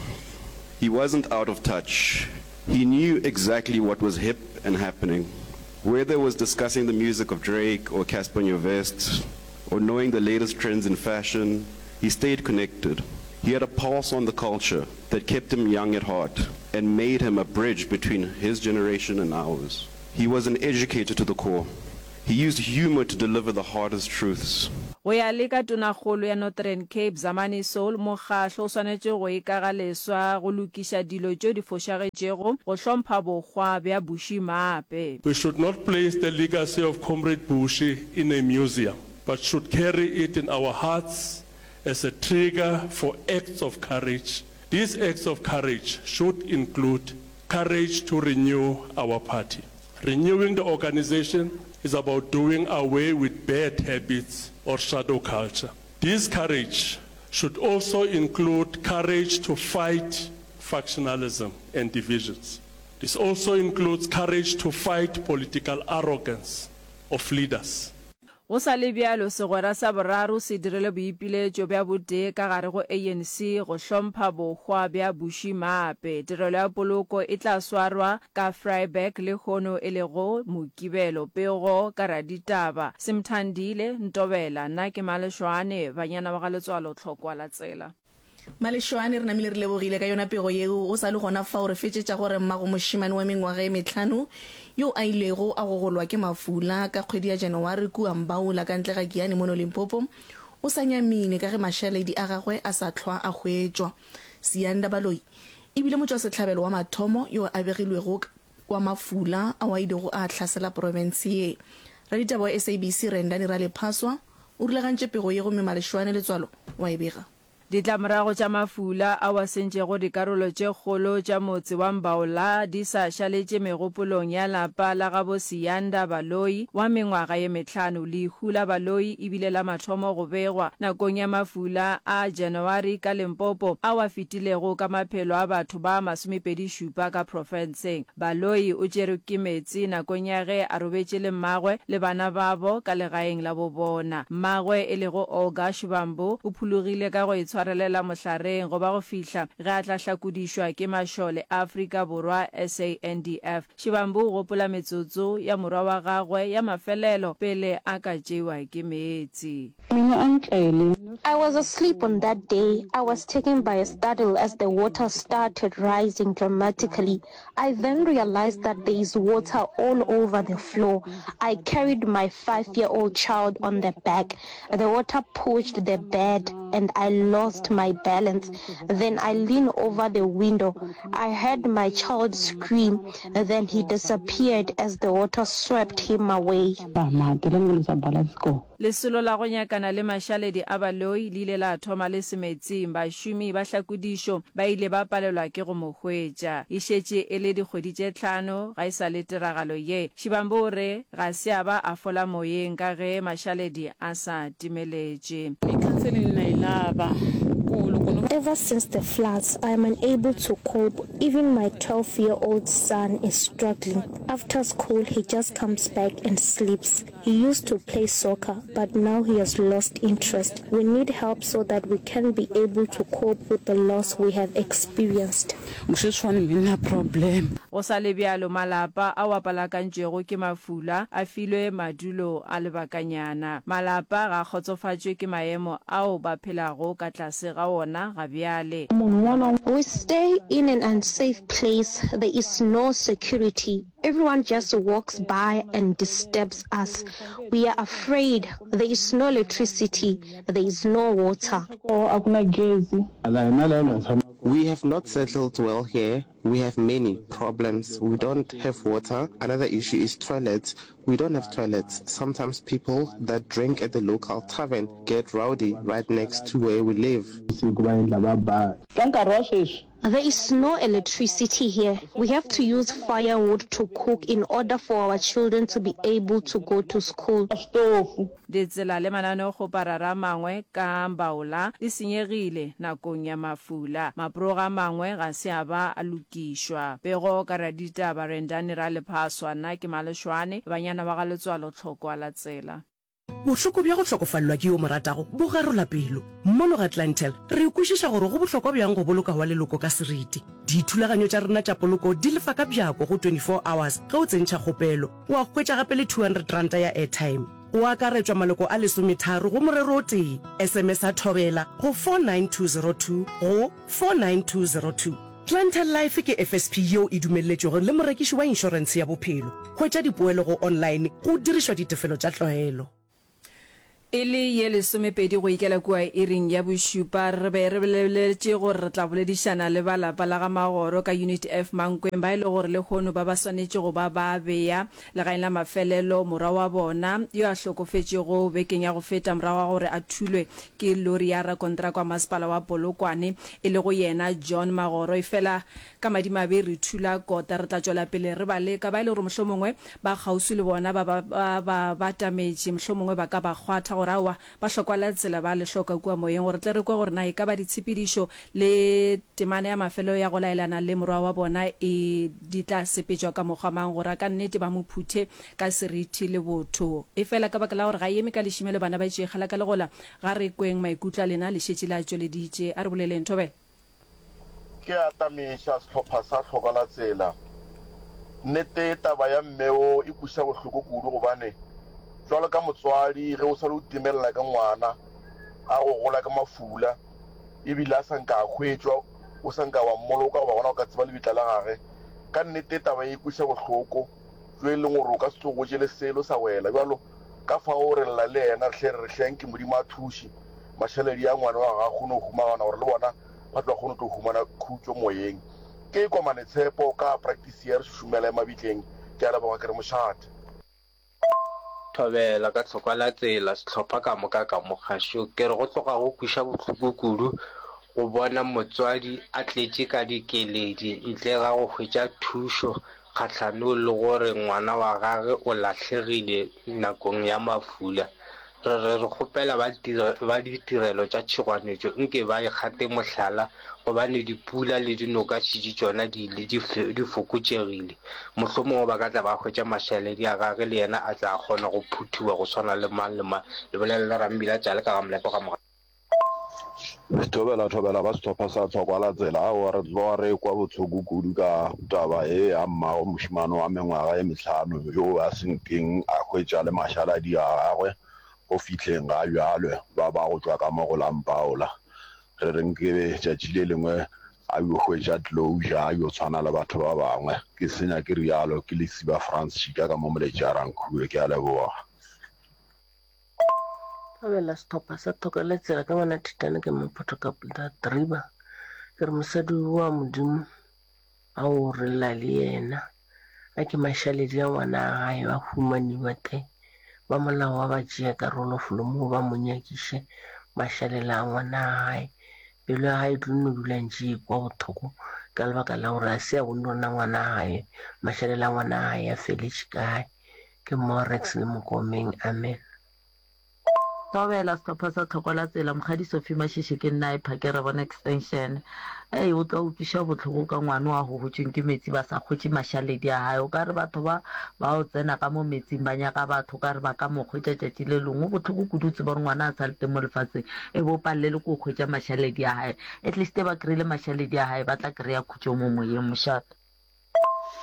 He wasn't out of touch. He knew exactly what was hip and happening. Whether it was discussing the music of Drake or Cassper Nyovest, or knowing the latest trends in fashion, he stayed connected. He had a pulse on the culture that kept him young at heart and made him a bridge between his generation and ours. He was an educator to the core. He used humor to deliver the hardest truths. Go ya le ka Tonakgolo ya Northern Cape, Zamani Saul, mokgahlo o swanetše go ikaga leswa go lokiša dilo tšeo di fošagetšego go hlompha bohwa bja Bushy Maape. We should not place the legacy of Comrade Bushy in a museum, but should carry it in our hearts as a trigger for acts of courage. These acts of courage should include courage to renew our party. Renewing the organization is about doing away with bad habits or shadow culture. This courage should also include courage to fight factionalism and divisions. This also includes courage to fight political arrogance of leaders. Go sa le bjalo, segwera sa boraro se dirile boipiletšo bja botee ka gare go ANC go hlompha bohwa bja Bushy Maape. Tirelo ya poloko e tla swarwa ka Vryburg lehono e lego Mokibelo. Pego ka raditaba, Simthandile Ntobela, Nna ke Maleshwane, Banyana ba ga Letswalo Tlhokwa la Tsela. Malešwane, re namile re lebogile ka yona pego yeo. Go sa le gona fao re fetšetša gore mmago mošemane wa mengwaga e mehlano yo a ilego a gogolwa ke mafula ka kgwedi ya Janaware kua Mbaula ka ntle ga Giyani mono Limpopo o sa nyamile ka ge mašaledi a gagwe a sa hlwa a hwetšwa. Siyanda Baloyi e bile motšwasehlabelo wa mathomo yo a begilwego wa mafula ao a ilego a hlasela profense ye. Raditaba wa SABC Rendani Ralephaswa o rulagantše pego ye gomme Malešwane Letswalo wa e bega. Ditlamorago tša mafula ao a sentšego dikarolo tše kgolo tša motse wa Mbaola di sa šaletše megopolong ya lapa la gabo Siyanda Baloyi wa mengwaga ye mehlano. Lehu la Baloyi e bile la mathomo go begwa nakong ya mafula a January ka Limpopo ao a fetilego ka maphelo a batho ba masomepedi-šupa ka profenseng. Baloyi o tšerwe ke meetse nakong ya ge a robetše le mmagwe le bana babo ka legaeng la bo bona. Mmagwe e lego Olga Shivambu o phologile ka go itshwarelela mohlareng go ba go fihla ge a tla hlakodišwa ke mašole a Afrika Borwa, SANDF. Shivambu o gopola metsotso ya morwa wa gagwe ya mafelelo pele a ka tšeiwa ke meetse. I was asleep on that day. I was taken by a startle as the water started rising dramatically. I then realized that there is water all over the floor. I carried my five-year-old child on the back. The water pushed the bed and I lost my balance. Then I leaned over the window. I heard my child scream. Then he disappeared as the water swept him away. Lesolo la go nyakana le mašaledi a Baloyi le ile la thoma le semetsing. Bašomi ba hlakodišo ba ile ba palelwa ke go mo hwetša. E šetše e le dikgwedi tše tlhano ga e sa le tiragalo ye. Shibambo o re ga se a ba a fola moyeng ka ge mašaledi a sa timeletše. Ever since the floods, I am unable to cope. Even my 12 year old son is struggling. After school, he just comes back and sleeps. He used to play soccer, but now he has lost interest. We need help so that we can be able to cope with the loss we have experienced. Go sa le bjalo, malapa ao a palakantšwego ke mafula a filwe madulo a lebakanyana. Malapa ga a kgotsofatšwe ke maemo ao ba phelago ka tlase ga ona ga bjale. We stay in an unsafe place, there is no security. Everyone just walks by and disturbs us. We are afraid. There is no electricity. There is no water. We have not settled well here. We have many problems. We don't have water. Another issue is toilets. We don't have toilets. Sometimes people that drink at the local tavern get rowdy right next to where we live. There is no electricity here. We have to use firewood to cook in order for our children to be able to go to school. Ditsela le mananeokgoparara a mangwe ka Mbaola di senyegile nakong ya mafula. Maproga a mangwe ga se a ba a lokišwa. Pego ka raditaba Rendani Ralephaswa, Nna ke Maleshwane, banyana ba ga Letswalo Tlhokwa la tsela. Bohloko bja go hlokofalelwa ke yo o mo ratago bo garola pelo. Mono ga Clientele, re kwešiša gore go bohlokwa bjang go boloka wa leloko ka seriti. Dithulaganyo tša rena tša poloko di lefa ka bjako go 24 hours ge o tsentšha kgopelo. Wa hwetša gape le R200 ya airtime. Go akaretšwa maloko a lesometharo go morero o tee. SMS-a Thobela go 49202 go 49202. Clientele Life ke FSP yeo e dumelletšwego le morekiši wa inšorentshe ya bophelo. Hwetša dipoelo go online go dirišwa ditefelo tša tlwaelo. E le ye lesomepedi go ikela kua iring ya bošupa, re be re boleletše gore re tla boledišana le ba lapa la ga Magoro ka Unit F Mankweng ba e le gore lehono ba ba swanetše go ba ba bea legaeng la mafelelo morwa wa bona yo a hlokofetšego bekeng ya go feta morago ga gore a thulwe ke lori ya rakontraka wa masepala wa Polokwane e lego yena John Magoro. Efela ka madimabe re thula kota. Re tla tšwela pele re ba leka. Ba e le gore mohlomongwe ba kgauswi le bona ba ba ba ba batametše, mohlomongwe ba ka ba kgwatha gore aowa ba hlokwa la tsela ba le hloka kua moyeng gore tle re kwe gore na e ka ba ditshepedišo le temana ya mafelelo ya go laelana le morwa wa bona e di tla sepetšwa ka mokgwa mang gore a ka nnete ba mo phuthe ka seriti le botho. Efela ka baka la gore ga e eme ka lešimelo bana ba tšeegela ka legola ga re kweng maikutlo a lena le šetše le a tšweleditše. A re boleleng. Thobela. Ke atamiša sehlopha sa Hloka la Tsela. Nnete taba ya mme wo e kweša bohloko kudu gobane jwalo ka motswadi ge o sale o timelela ka ngwana a go gola ka mafula ebile a sa nka a hwetšwa o sa nka wa mmoloka goba gona o ka tseba lebitla la gage ka nnete taba e kweša bohloko jo e leng gore o ka se tsoge o jele selo sa wela bjalo ka fao re lla le yena re hle re re hle anke Modimo a thuše mašaledi a ngwana wa gagwe a kgone go humagana gore le bona ba tle ba kgone go tlo humana khutšo moyeng. Ke Komane Tshepo ka practice ya re šušumela ya mabitleng. Ke a leboga ke re mošate. Thobela ka tlhokwa la tsela sehlopha ka moka ka mo kgašong. Ke re go tloga go kweša bohloko kudu go bona motswadi a tletše ka dikeledi ntle ga go hwetša thušo kgahlanong le gore ngwana wa gage o lahlegile nakong ya mafula. Re re re kgopela ba ba ditirelo tša tšhogwanetšo nke ba ikgate mohlala gobane dipula le dinoka šetše tšona di ile di di fokotšegile. Mohlomongwe ba ka tla ba hwetša mašaledi a gage le yena a tla kgona go phuthiwa go swana le mang le mang. Le bolela le Rambila Tšale ka ga Molepo ga Moga. Thobela thobela ba sehlopha sa Tlhokwa la Tsela. Aowa re tloga re ekwa bohloko kudu ka taba ye ya mmago mošemane wa mengwaga ye mehlano yo a se nkeng a hwetša le mašaladi a gagwe go fihleng ga bjale ba ba go tšwa ka mo go la Mpaola. Re re nkebe tšatši le lengwe a yo hwetša closure a yo tshwana le batho ba bangwe. Ke senya ke realo ke Lesiba Frans Tšhika ka mo Moletši a Rankhuwe. Ke a leboga. Thobela sehlopha sa Thoko la Tsela ka ngwana Thitane ke Maphoto ka Driba. Ke re mosadi wa Modimo a o re lla le yena. A ke mašaledi a ngwana a gae ba humaniwa te ba molao wa ba tšea karolo felo moo ba mo nyakiše mašalela a ngwana a gae. Pelo ya gae e tlo no dula ntše e kwa bohloko ka lebaka la gore a se a bone gore na ngwana a gae mašalela a ngwana a gae a feletše kae. Ke Morex le Mokomeng. Amen. Thobela, Sehlopha sa Tlhoko la Tsela, Mokgadi Sophie Mashishi ke nna e Phakere bona extension. Ei, o tla utlwiša bohloko ka ngwana wa hohotšweng ke metsi ba sa hwetše mašaledi a hae. O ka re batho ba ba o tsena ka mo metsing ba nyaka batho, o ka re ba ka mo hwetša tšatši le lengwe. Go bohloko kudu o tseba gore ngwana a sa le teng mo lefatsheng e be o palelwe ke go hwetša mašaledi a hae. At least ba kry-ile mašaledi a hae ba tla kry-a khutšo mo moyeng. Mošate.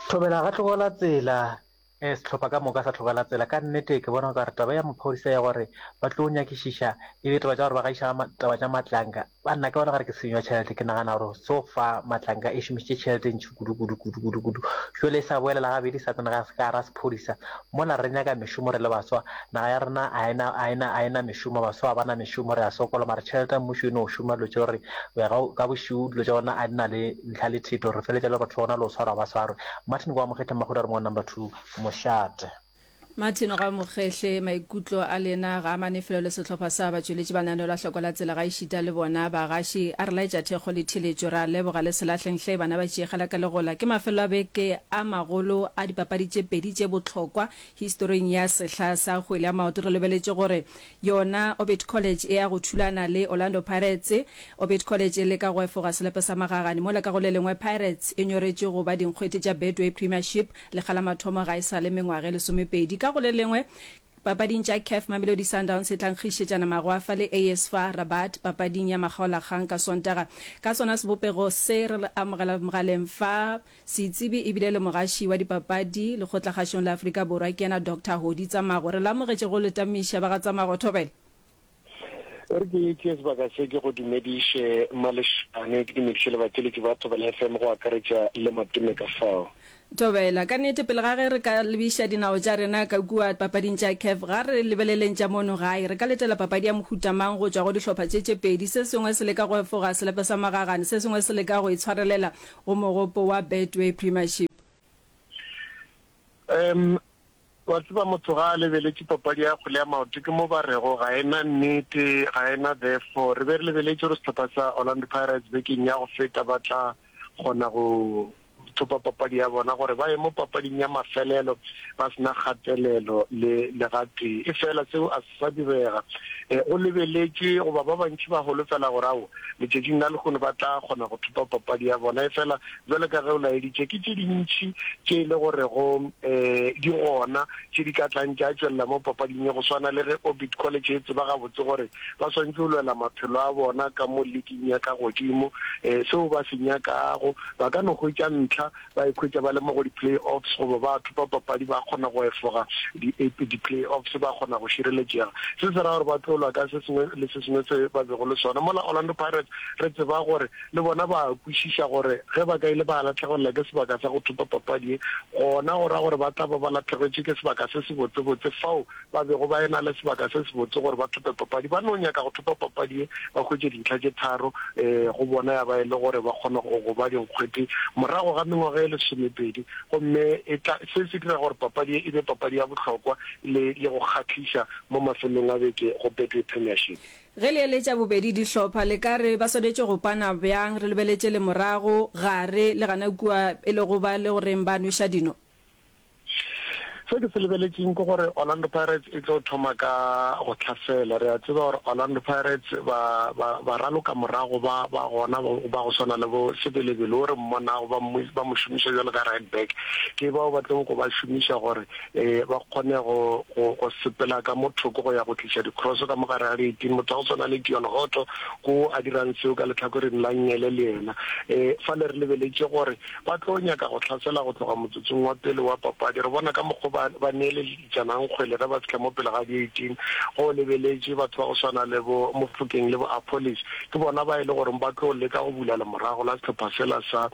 Thobela ga tlogela tsela Sehlopha ka moka sa tlogela tsela. Ka nnete ke bona okare taba ya maphodisa ya gore ba tlo nyakišiša e be taba tša gore ba gaiša taba tša Matlanka, banna ke bona okare ke tshenyo ya tšhelete. Ke nagana gore so far Matlanka e šomišitše tšhelete e ntši kudu kudu kudu kudu kudu. Jwale e sa boela le gabedi e sa tsena ka gare ga sephodisa. Mola re nyaka mešomo re le baswa, naga ya rena a e na a e na a e na mešomo, baswa ga ba na mešomo, re a sokola mara tšhelete ya mmušo e no šoma dilo tše gore go ya ka bošego dilo tša gona a di na le ntlha le theto, re feletša le batho ba gona le go swarwa ba swarwe. Martin Kwa Mokgehle Mmahudu a re mo number 2 mošate. Martin Ga Mokgehle, Maikutlo a lena ga a mane felo le sehlopha sa batšweletši ba lenaneo la Hloko la Tsela ga ešita le bona bagaši. A re laetša thekgo le theletšo. Re a leboga le se lahleng hle bana ba tšeegela ka legola. Ke mafelelo a beke a magolo a dipapadi tše pedi tše bohlokwa historing ya sehla sa kgwele ya maoto. Re lebeletše gore Yona Orbit College e ya go thulana le Orlando Pirates. Orbit College e leka go efoga selepe sa magagane, mola ka go le lengwe Pirates e nyoretšwe go ba dinkgwete tša Betway Premiership lekga la mathomo ga e sa le mengwaga e lesomepedi. Ka go le lengwe, Papading tša Caf, Mamelodi Sundowns e tla nkgišetšana magwafa le AS FAR Rabat papading ya makgaolakgang ka Sontaga. Ka sona sebopego se re amogela mogaleng fa setsebi ebile le mogaši wa dipapadi lekgotlakgašong la Afrika Borwa ke yena Doctor Hodi Tsamago. Re le amogetše go le tamiša ba ga Tsamago. Thobela. E re ke tšee sebaka se ke go dumediše Malešane, ke dumediše le batheeletši ba Thobela FM go akaretša le Matome ka fao. Thobela, ka nnete pele ga ge re ka lebiša dinao tša rena ka kua papading tša CAF, ga re lebeleleng tša mono gae. Re ka letela papadi ya mohuta mang go tšwa go dihlopha tše tše pedi? Se sengwe se leka go efoga selepe sa magagane, se sengwe se leka go itshwarelela go mogopo wa Betway Premiership. Um, Wa tseba, motho ga a lebeletše papadi ya kgwele ya maoto, ke mo ba rego ga e na nnete, ga e na therefore. Re be re lebeletše gore sehlopha sa Orlando Pirates bekeng ya go feta ba tla kgona go thopa papadi ya bona gore ba ye mo papading ya mafelelo ba se na kgatelelo le le gatee. Efela seo a se sa direga. Go lebeletšwe goba ba bantši ba holofela gore ao letšatšing la lehono ba tla kgona go thopa papadi ya bona. Efela bjalo ka ge o laeditše, ke tše dintši tše e le gorego um di gona tše di ka tlang tša tšwelela mo papading ye, go swana le ge Orbit College e tseba gabotse gore ba swanetše go lwela maphelo a bona ka mo liking ya ka godimo. Um seo ba se nyakago, ba ka no hwetša ntlha ba ikhwetša ba le mo go di-play-offs goba ba thopa papadi ba kgona go efoga di-play-offs, ba kgona go šireletšega. Se se ra gore ba tlo lwa ka se sengwe le se sengwe se ba bego le sona. Mola Orlando Pirates re tseba gore le bona ba kwešiša gore ge ba ka ile ba lahlegelela ke sebaka sa go thopa papadi ye, gona go ra gore ba tla ba ba lahlegetšwe ke sebaka se sebotsebotse fao ba bego ba e-na le sebaka se sebotse gore ba thope papadi. Ba no nyaka go thopa papadi ye, ba hwetše dintlha tše tharo go bona ya ba e le gore ba kgone go go ba dinkgwete morago ga mengwaga e lesomepedi. Gomme e tla, se se dira gore papadi ye e be papadi ya bohlokwa le, le go kgahliša mo mafelong a beke go Betway Premiership. Ge le eletša bobedi dihlopha, le ka re ba swanetše go pana bjang, re lebeletše lemorago, gare, le gana kua e lego ba le goreng ba nweša dino? Se ke se lebeletšeng ke gore Orlando Pirates e tlo thoma ka go hlasela. Re a tseba gore Orlando Pirates ba, ba, ba raloka morago ba, ba gona ba, ba go swana le bo Sebelebele o re mmonago ba mo, ba mo šomiša bjalo ka right back. Ke bao ba tlo go ba šomiša gore eh, ba kgone go, go, go sepela ka mo thoko go ya go tliša di-cross ka mo gare ga di-eighteen. Motho wa go swana le Deon Hotto ko a dirang seo ka lehlakoreng la nngele le yena. Eh, fale re lebeletše gore Ba tlo nyaka go hlasela go tloga motsotsong wa pele wa papadi. Re bona ka mokgo ba, ba neeleditšanang kgwele ge ba fihla mo pele ga di-18. Go lebeletše batho ba go swana le bo Mofokeng le bo Appollis, ke bona ba e le goreng ba tlo leka go bula lemorago la sehlopha sela sa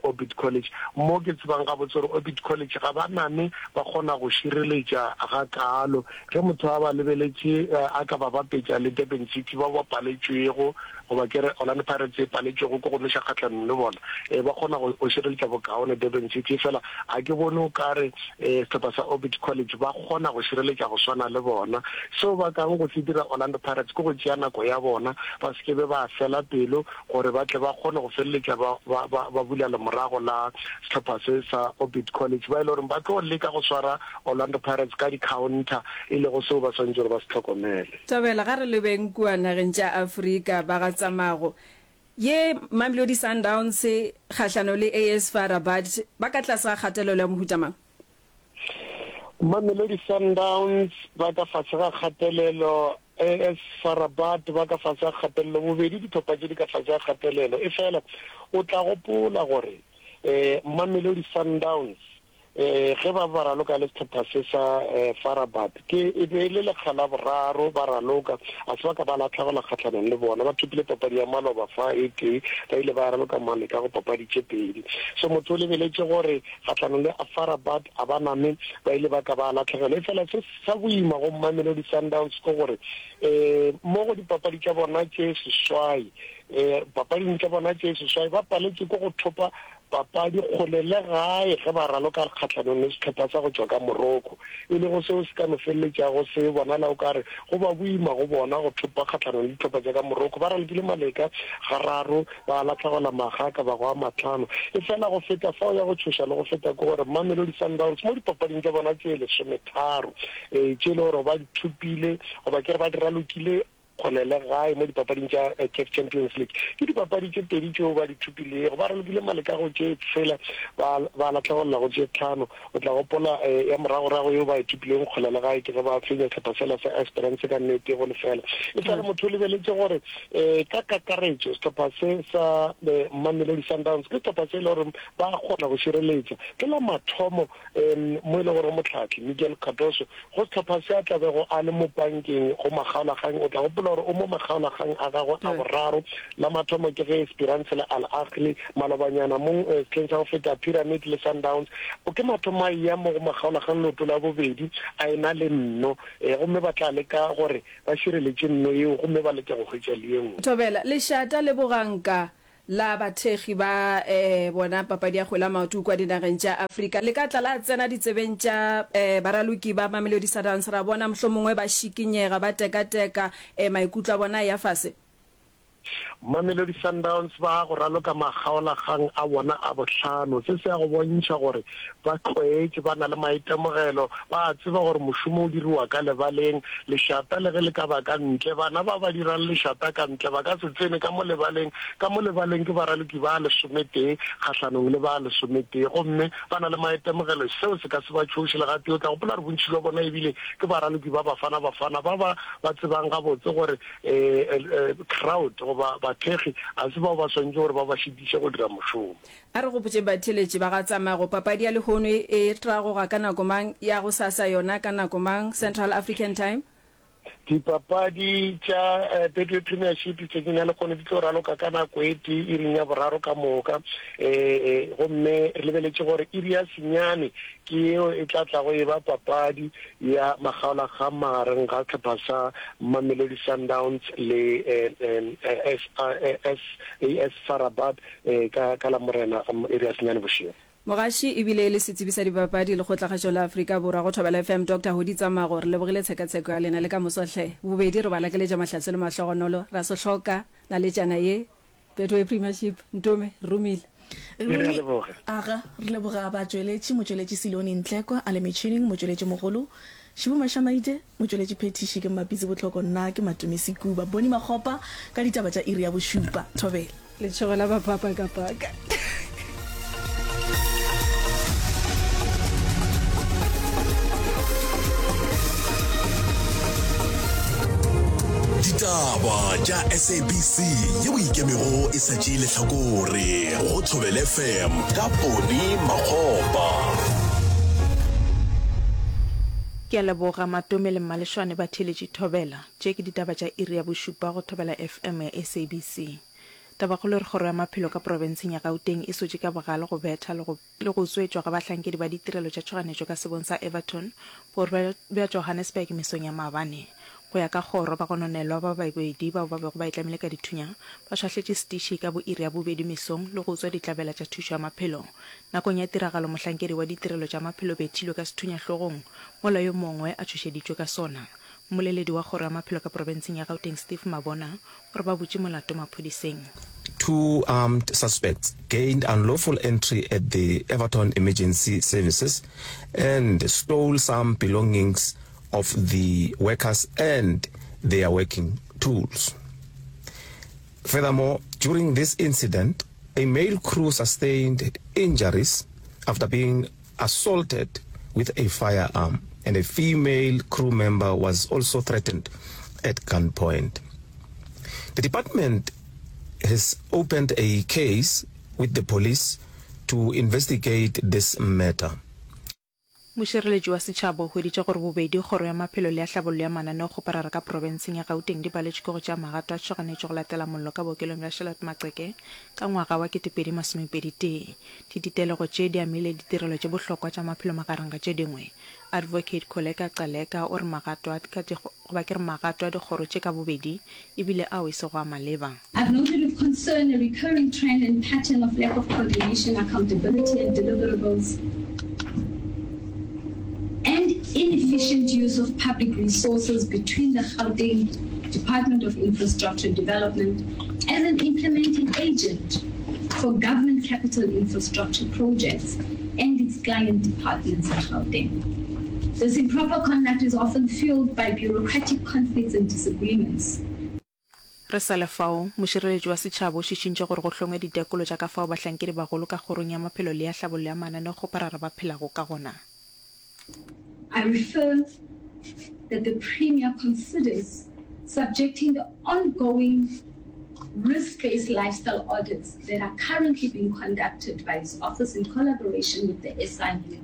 Orbit College. Mo ke tsebang gabotse gore Orbit College ga ba name ba kgona go šireletša gakaalo. Ge motho a ba lebeletše a ka ba bapetša le Durban City bao ba paletšwego goba ke re Orlando Pirates e paletšwego ke go noša kgahlanong le bona, e, ba kgona go, go šireletša bokaone Durban City. Efela ga ke bone o ka re e, sehlopha sa Orbit College ba kgona go šireletša go swana le bona. Seo ba kang go se dira Orlando Pirates ke go tšea nako ya bona, ba se ke be ba fela pelo gore ba tle ba kgone go feleletša ba, ba, ba, ba bula lemorago la sehlopha se sa Orbit College, ba e le goreng ba tlo leka go swara Orlando Pirates ka di-counter, e lego seo ba swanetše gore ba se hlokomele. Thobela, ga re lebeng kua nageng tša Afrika, ba ga Tsamago. Ye Mamelodi Sundowns kgahlano le AS FAR Rabat ba ka tlase ga kgatelelo ya mohuta mang? Mamelodi Sundowns ba ka fase ga kgatelelo, AS FAR Rabat ba ka fase ga kgatelelo, bobedi dihlopha tše di ka fase ga kgatelelo. Efela o tla gopola gore Mamelodi Sundowns Ge ba ba raloka le sehlopha se sa FAR Rabat, ke e be e le lekga la boraro ba raloka, a se ba ka ba lahlegelwa kgahlanong le bona. Ba thopile papadi ya maloba fa e tee, ba ile ba raloka maleka go papadi tše pedi. So motho o lebeletše gore kgahlanong le FAR Rabat a ba name ba ile ba ka ba lahlegelwa. Efela se sa boima go Mamelodi Sundowns ke gore um mo go dipapadi tša bona tše seswai, um papading tša bona tše seswai ba paletšwe ke go thopa Papadi kgole le gae ge ba raloka kgahlanong le sehlopha sa go tšwa ka Morocco, e lego seo se ka no feleletšago se bonala o ka re go ba boima go bona go thopa kgahlanong le dihlopha tša ka Morocco. Ba ralokile maleka gararo, ba lahlegelwa makga a ka bago a mahlano. Efela go feta fao ya go tšhoša le go feta ke gore Mamelodi Sundowns mo dipapading tša bona tše lesometharo tše e le gore ba di thopile goba ke re ba di ralokile, kgole le gae mo dipapading tša CAF Champions League. Ke dipapadi tše pedi tšeo ba di thopilego. Ba ralokile maleka go tše tshela, ba ba lahlegelela go tše tlhano. O tla gopola ya moragorago yeo ba e thopilego kgole le gae ke ge ba fenya sehlopha sela sa Esperance ka nne tee go lefela. E sa le motho o lebeletše gore ka kakaretšo sehlopha se sa Mamelodi Sundowns ke sehlopha se e le gore ba kgona go šireletša. Ke la mathomo mo e le gore mohlahli Miguel Cardoso go sehlopha se a tla bego a le mo pankeng go makgaolakgang. O tla gopola gore o mo makgaolakgang a gagwe a boraro. La mathomo ke ge Esperance le Al Ahly, malobanyana mo sehleng sa go feta Pyramid le Sundowns. O ke mathomo a eya mo go makgaolakgang leoto la bobedi a e na le nno, gomme ba tla leka gore ba šireletše nno yeo gomme ba leke go hwetša le ye nngwe. Thobela, lešata le boganka la bathekgi ba bona papadi ya kgwele ya maoto kua dinageng tša Afrika le ka tla la tsena ditsebeng tša baraloki ba Mamelodi Sundowns ra bona mohlomongwe ba šikinyega, ba tekateka, maikutlo a bona a eya fase? Mamelodi Sundowns ba go raloka makgaolakgang a bona a bohlano. Se se ya go bontšha gore ba tlwaetše, ba na le maitemogelo, ba a tseba gore mošomo o diriwa ka lebaleng. Lešata le ge le ka ba ka ntle, bana ba ba dirang lešata ka ntle ba ka se tsene ka mo lebaleng. Ka mo lebaleng ke baraloki ba lesometee kgahlanong le ba lesometee, gomme ba na le maitemogelo. Seo se ka se ba tšhoše le gatee. O tla gopola gore bontši bja bona ebile ke baraloki ba Bafana Bafana ba ba ba tsebang gabotse gore crowd goba bathekgi ga se bao ba swanetše gore ba ba šitiše go dira mošomo. A re gopotšeng batheeletši ba ga Tsamago, papadi ya lehono e tragoga ka nako mang, ya gosasa yona ka nako mang, Central African Time? Dipapadi tša Betway Premiership tšatšing la lehono di tlo raloka ka nako e tee iring ya boraro ka moka, gomme re lebeletše gore iri ya senyane ke yeo e tla tlago e ba papadi ya makgaolakgang magareng ga sehlopha sa Mamelodi Sundowns le AS FAR Rabat ka ka Lamorena iri ya senyane bošego. Mogaši e bile e le setsebi sa dipapadi Lekgotlakgašo la Afrika Borwa go Thobela FM Doctor Hodi Tsamago re lebogile tshekatsheko ya lena le ka moso hle. Bobedi re ba lakeletša mahlatse le mahlogonolo ra se hloka naletšana ye Betway Premiership Ntome re romile. Re a leboga. Aga, re leboga batšweletši, motšweletši Siloni Ntlekwa a le metšhining, motšweletši mogolo Šibu Mashamaite, motšweletši phethiši ke Mmapitsi Botlhoko, nna ke Matome Sekuba. Boni Makgopa ka ditaba tša iri ya bošupa. Thobela. Letšhogo la mapapakapaka. Ditaba tša SABC yeo ikemego e sa tšee lehlakore go Thobela FM ka Poni Makgopa. Ke a leboga Matome le Mmalešwane ba theeletše Thobela. Tše ke ditaba tša iri ya bošupa go Thobela FM ya SABC. Tabakgolo e re Kgoro ya Maphelo ka profenseng ya Gauteng e sotše ka bogale go betha le go le go utswetšwa ga bahlankedi ba ditirelo tša tšhoganetšo ka sebong sa Everton, borwa bja Johannesburg mesong ya maabane. Go ya ka kgoro, bagononelwa ba babedi bao ba bego ba itlamile ka dithunya ba šwahletše setiši ka bo iri ya bobedi mesong le go utswa ditlabela tša thušo ya maphelo. Nakong ya tiragalo mohlankedi wa ditirelo tša maphelo bethilwe ka sethunya hlogong mola yo mongwe a tšhošeditšwe ka sona. Mmoleledi wa kgoro ya maphelo ka profenseng ya Gauteng Steve Mabona o re ba butše molato maphodiseng. Two armed suspects gained unlawful entry at the Everton Emergency Services and stole some belongings of the workers and their working tools. Furthermore, during this incident, a male crew sustained injuries after being assaulted with a firearm and a female crew member was also threatened at gunpoint. The department has opened a case with the police to investigate this matter. Mošireletši wa setšhaba o hweditše gore bobedi Kgoro ya Maphelo le ya Hlabollo ya Mananeokgoparara ka profenseng ya Gauteng di paletšwe ke go tšea magato a tšhoganetšo go latela mollo ka bookelong bja Charlotte Maxeke ka ngwaga wa 2021. Dititelego tše di amile ditirelo tše bohlokwa tša maphelo magareng ga tše dingwe. Advocate Kholeka Gcaleka o re magato a ka goba ke re magato a dikgoro tše ka bobedi e bile ao e sego a maleba. I've noted with concern a recurring trend and pattern of lack of coordination, accountability and deliverables and inefficient use of public resources between the Gauteng Department of Infrastructure Development as an implementing agent for government capital infrastructure projects and its client departments in Gauteng. This improper conduct is often fueled by bureaucratic conflicts and disagreements. Re sa le fao, mošireletši wa setšhaba o šišintše gore go hlongwe ditekolo tša ka fao bahlankedi bagolo ka kgorong ya maphelo le ya hlabollo ya mananeokgoparara ba phelago ka gona. I refer that the Premier considers subjecting the ongoing risk-based lifestyle audits that are currently being conducted by his office in collaboration with the SIU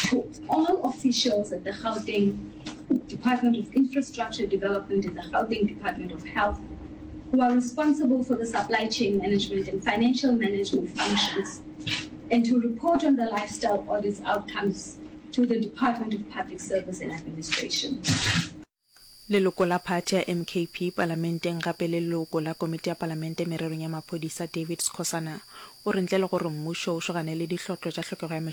to all officials at the Gauteng Department of Infrastructure Development and the Gauteng Department of Health who are responsible for the supply chain management and financial management functions and to report on the lifestyle audits outcomes to the Department of Public Service and Administration. Leloko la phathi ya MKP palamenteng gape le leloko la komiti ya palamente mererong ya maphodisa David Skhosana o re ntle le gore mmušo o šogane le dihlotlo tša hlokego ya mešomo.